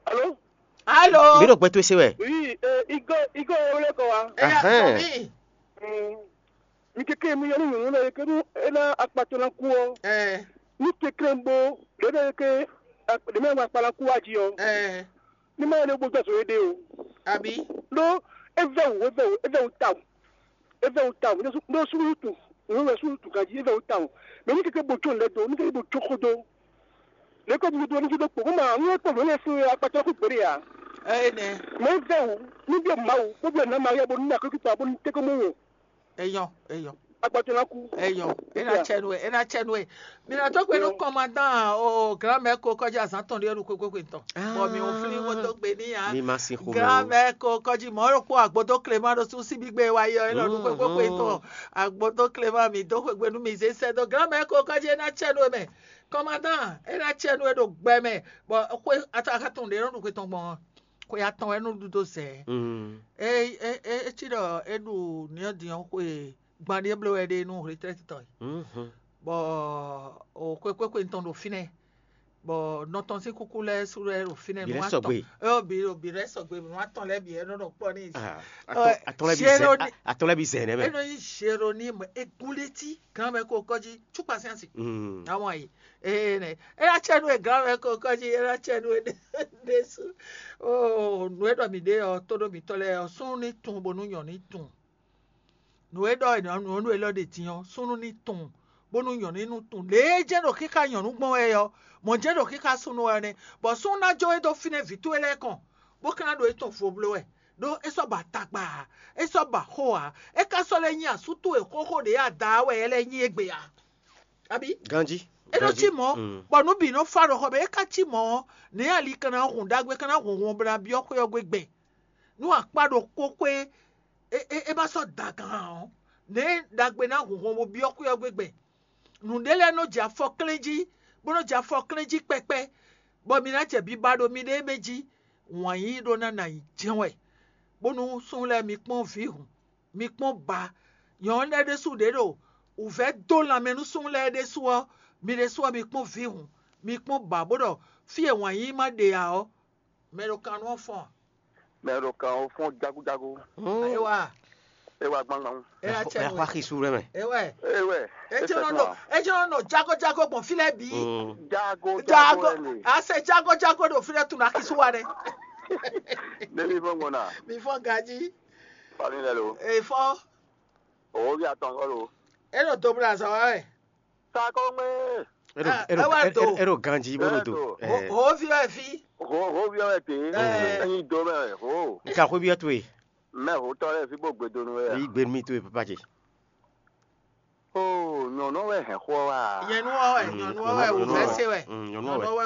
Alo. Alo. Mi ɖo gbɛ towe se wɛ. Oui, eh, igo igo wele kɔ wa. Eya Ahɛn. Tɔn mi. Mm. Mi keke mi yɔ ní nyɔ̌nu lɛ ke nú é ná akpatɔ ná kú ɔ́. Ɛ. Ní kekle bo ɖě ɖe ke ɖě mɛ akpa ná kú wá jí ɔ́. Ɛ. Ní má yɛ ní gbójú azɔn éɖée o. Àbí? Ɖó é vɛ́ wǔ é vɛ́ wǔ é vɛ́ wǔ tawun. É vɛ́ wǔ tawun. Ɖó súnnu tun. Nǔ wɛ súnnu tun ganjí é vɛ́ wǔ tawun. Mɛ ní keke bo jó nǔ lɛ́ɛ dó, ní keke bo jó xó dó. Lě ko mi ɖó ní fi ɖó kpo, kó ma nú é kpo nǔ énɛ́ sín akpatɔ kú gběɖe ǎ. Ɛ nɛ. Mɛ é vɛ́ wǔ, ní byɔ́ Mawu, bó byɔ́ nǎ Maria bónú ní akɔ́kíta bónú tɛ́nkɔ́n mɔ wò. Eyɔn, eyɔn. Akpatɔ ná kú. Eyɔn, é ná cɛ nú ɛ, é ná cɛ nú ɛ. Mi ná dó gbe nú kɔnmadán o granmɛ ko kɔjí azán tɔn ɖé ɖo kpékpé tɔn. Bɔ mi ò flí wó dó gbe ní ya. Mi ma sin xomɛ o. Granmɛ ko kɔjí mɔ̌ ɖokpó agbódó Clément ɖo sú síbí gbé wa yɔ é lɔ ɖo kpékpé tɔn. Agbódó Clément mi dó xwegbe nú mi zé sɛ́ dó granmɛ ko kɔjí é ná cɛ nú ɛ mɛ. Kɔnmadán, é ná cɛ nú ɛ ɖo gbɛ mɛ, bɔ xwé atɔn ɖě nɔ ɖu xwe tɔn gbɔn ɔ́, xwe atɔn wɛ nɔ ɖu dó zɛ. Mm. É é é é cí ɖɔ é ɖu nǐyɔ́dǐn ɔ́ xwe gban ɖíe bló wɛ ɖe nú retraite tɔn. Mhm. Bɔ o xwe xwe xwe tɔn ɖo fínɛ́, bɔ nɔ tɔn sín kúkú lɛ́ɛ sú lɛ́ɛ ɖo fínɛ́. Bǐ lɛ́ sɔgbe. Ɛ bǐ bǐ lɛ́ sɔgbe nú atɔn lɛ́ɛ bǐ ɛ nɔ ɖɔ kpɔ́ n'i. Ah, atɔn atɔn lɛ́ɛ bǐ zɛ Jérémi- atɔn lɛ́ɛ bǐ zɛ nɛ́ mɛ. É nɔ nyí Jérónime égúnlétí granmɛ ko kɔjí cúkpasínsì. Mm. Àwọn yìí ee nɛ é ná cɛ nú e granmɛ ko kɔjí é ná cɛ nú e ɖésú. Oo nǔ e ɖɔ mǐ ɖe ɔ́, tóɖó mǐtɔn lɛ́ɛ ɔ́, súnnu ní tun bónú nyɔ̌nu ní tun. Nǔ e ɖɔ è nɔ nǔ e lɔ ɖe din ɔ́, súnnu ní tun bónú nyɔ̌nu ní tun. Lě e jɛ́n ɖo xíxá nyɔ̌nu gbɔn wɛ ɔ́, mɔ̌ jɛ́n ɖo xíxá súnnu wɛ nɛ́, bɔ súnnu ná jó we dó fínɛ́ vǐ towe lɛ́ɛ kɔn, bó ka ná ɖo é tɔn vo bló wɛ. Ɖó é sɔ́ ba tagba ǎ, é sɔ́ ba xó ǎ, é ka sɔ́ lɛ́ nyí asú towe xóxó ɖě ada wɛ é lɛ́ nyí égbé ǎ. Abí? Ganjí. É nɔ cí mɔ̌, bɔ nǔ bǐ nɔ fá ɖo xɔ mɛ, é ka cí mɔ̌ ɔ́, nɛ̌ ali ka ná hun ɖagbe ka ná hun hun bó ná byɔ́ xwé ɔ́ gbe gbɛn? Nú akpá ɖokpó xwé é é é ma sɔ́ da gan ǎ ɔ́, nɛ̌ ɖagbe ná hun hun bó byɔ́ xwé ɔ́ gbe gbɛn? Nǔɖé lɛ́ɛ nɔ jɛ afɔ klɛ́n jí, bó nɔ jɛ afɔ klɛ́n jí kpɛkpɛ, bɔ mi ná jɛ biba ɖo miɖée mɛ jí, wǎn yíyí ɖó ná nɔ ayǐ jɛ́n wɛ, bónú súnnu lɛ́ɛ mi kpɔ́n vǐ hǔn, mi kpɔ́n ba. Nyɔ̌nu lɛ́ɛ ɖésú ɖě ɖo wǔvɛ́ dó lanmɛ nú súnnu lɛ́ɛ ɖésú ɔ́, mi ɖésú ɔ́, mi kpɔ́n vǐ hǔn, mi kpɔ́n ba, bó ɖɔ fí e wǎn yíyí ma ɖe ǎ ɔ́, mɛ ɖo kan nú ɔ́ fɔ́n. Mɛ ɖo kan ɔ́ fɔ́n jágújágú. Ewa. É wá gbangban. É ná cɛ Ɛ nú wá ɛ. Xixú ɖé mɛ. Ewɛ. Ewɛ. Ejɔnɔ nɔ ejɔnɔ nɔ jago jago gbɔn fi lɛ bi. Jago jago Jago. Ɛni. Ase jago jago ɖo fi lɛ tun na kisu wa ɖe. Ɖevi fɔ ŋgɔna. Mi fɔ gaji. Fani lɛ lo. Efɔ. Owo bi atɔn kɔ lo. E ɖo dobla zɔ wa wɛ. Sakɔŋmɛ. Eɖo Ah, eɖo ewa eɖo do. Eɖo ganji bó ɖo do. Eɖo. Ho Ɛɛ. Ho vi wɛ fi. Ho ho vi wɛ te. Ɛɛ. Ɛyin do mɛ ho. Nka xwé biɔ towe. Mɛ hotɔ lɛ́ɛ fi bó gbedo nú we a? Yí gbe nú mì towe papa ce. Ó, nyɔ̌nu wɛ hɛn xó ɔ́ wá. Nyɔ̌nu ɔ́ wɛ, nyɔ̌nu ɔ́ wɛ, wǔvɛ́ se wɛ. Mm, nyɔ̌nu ɔ́ wɛ. Nyɔ̌nu ɔ́ wɛ,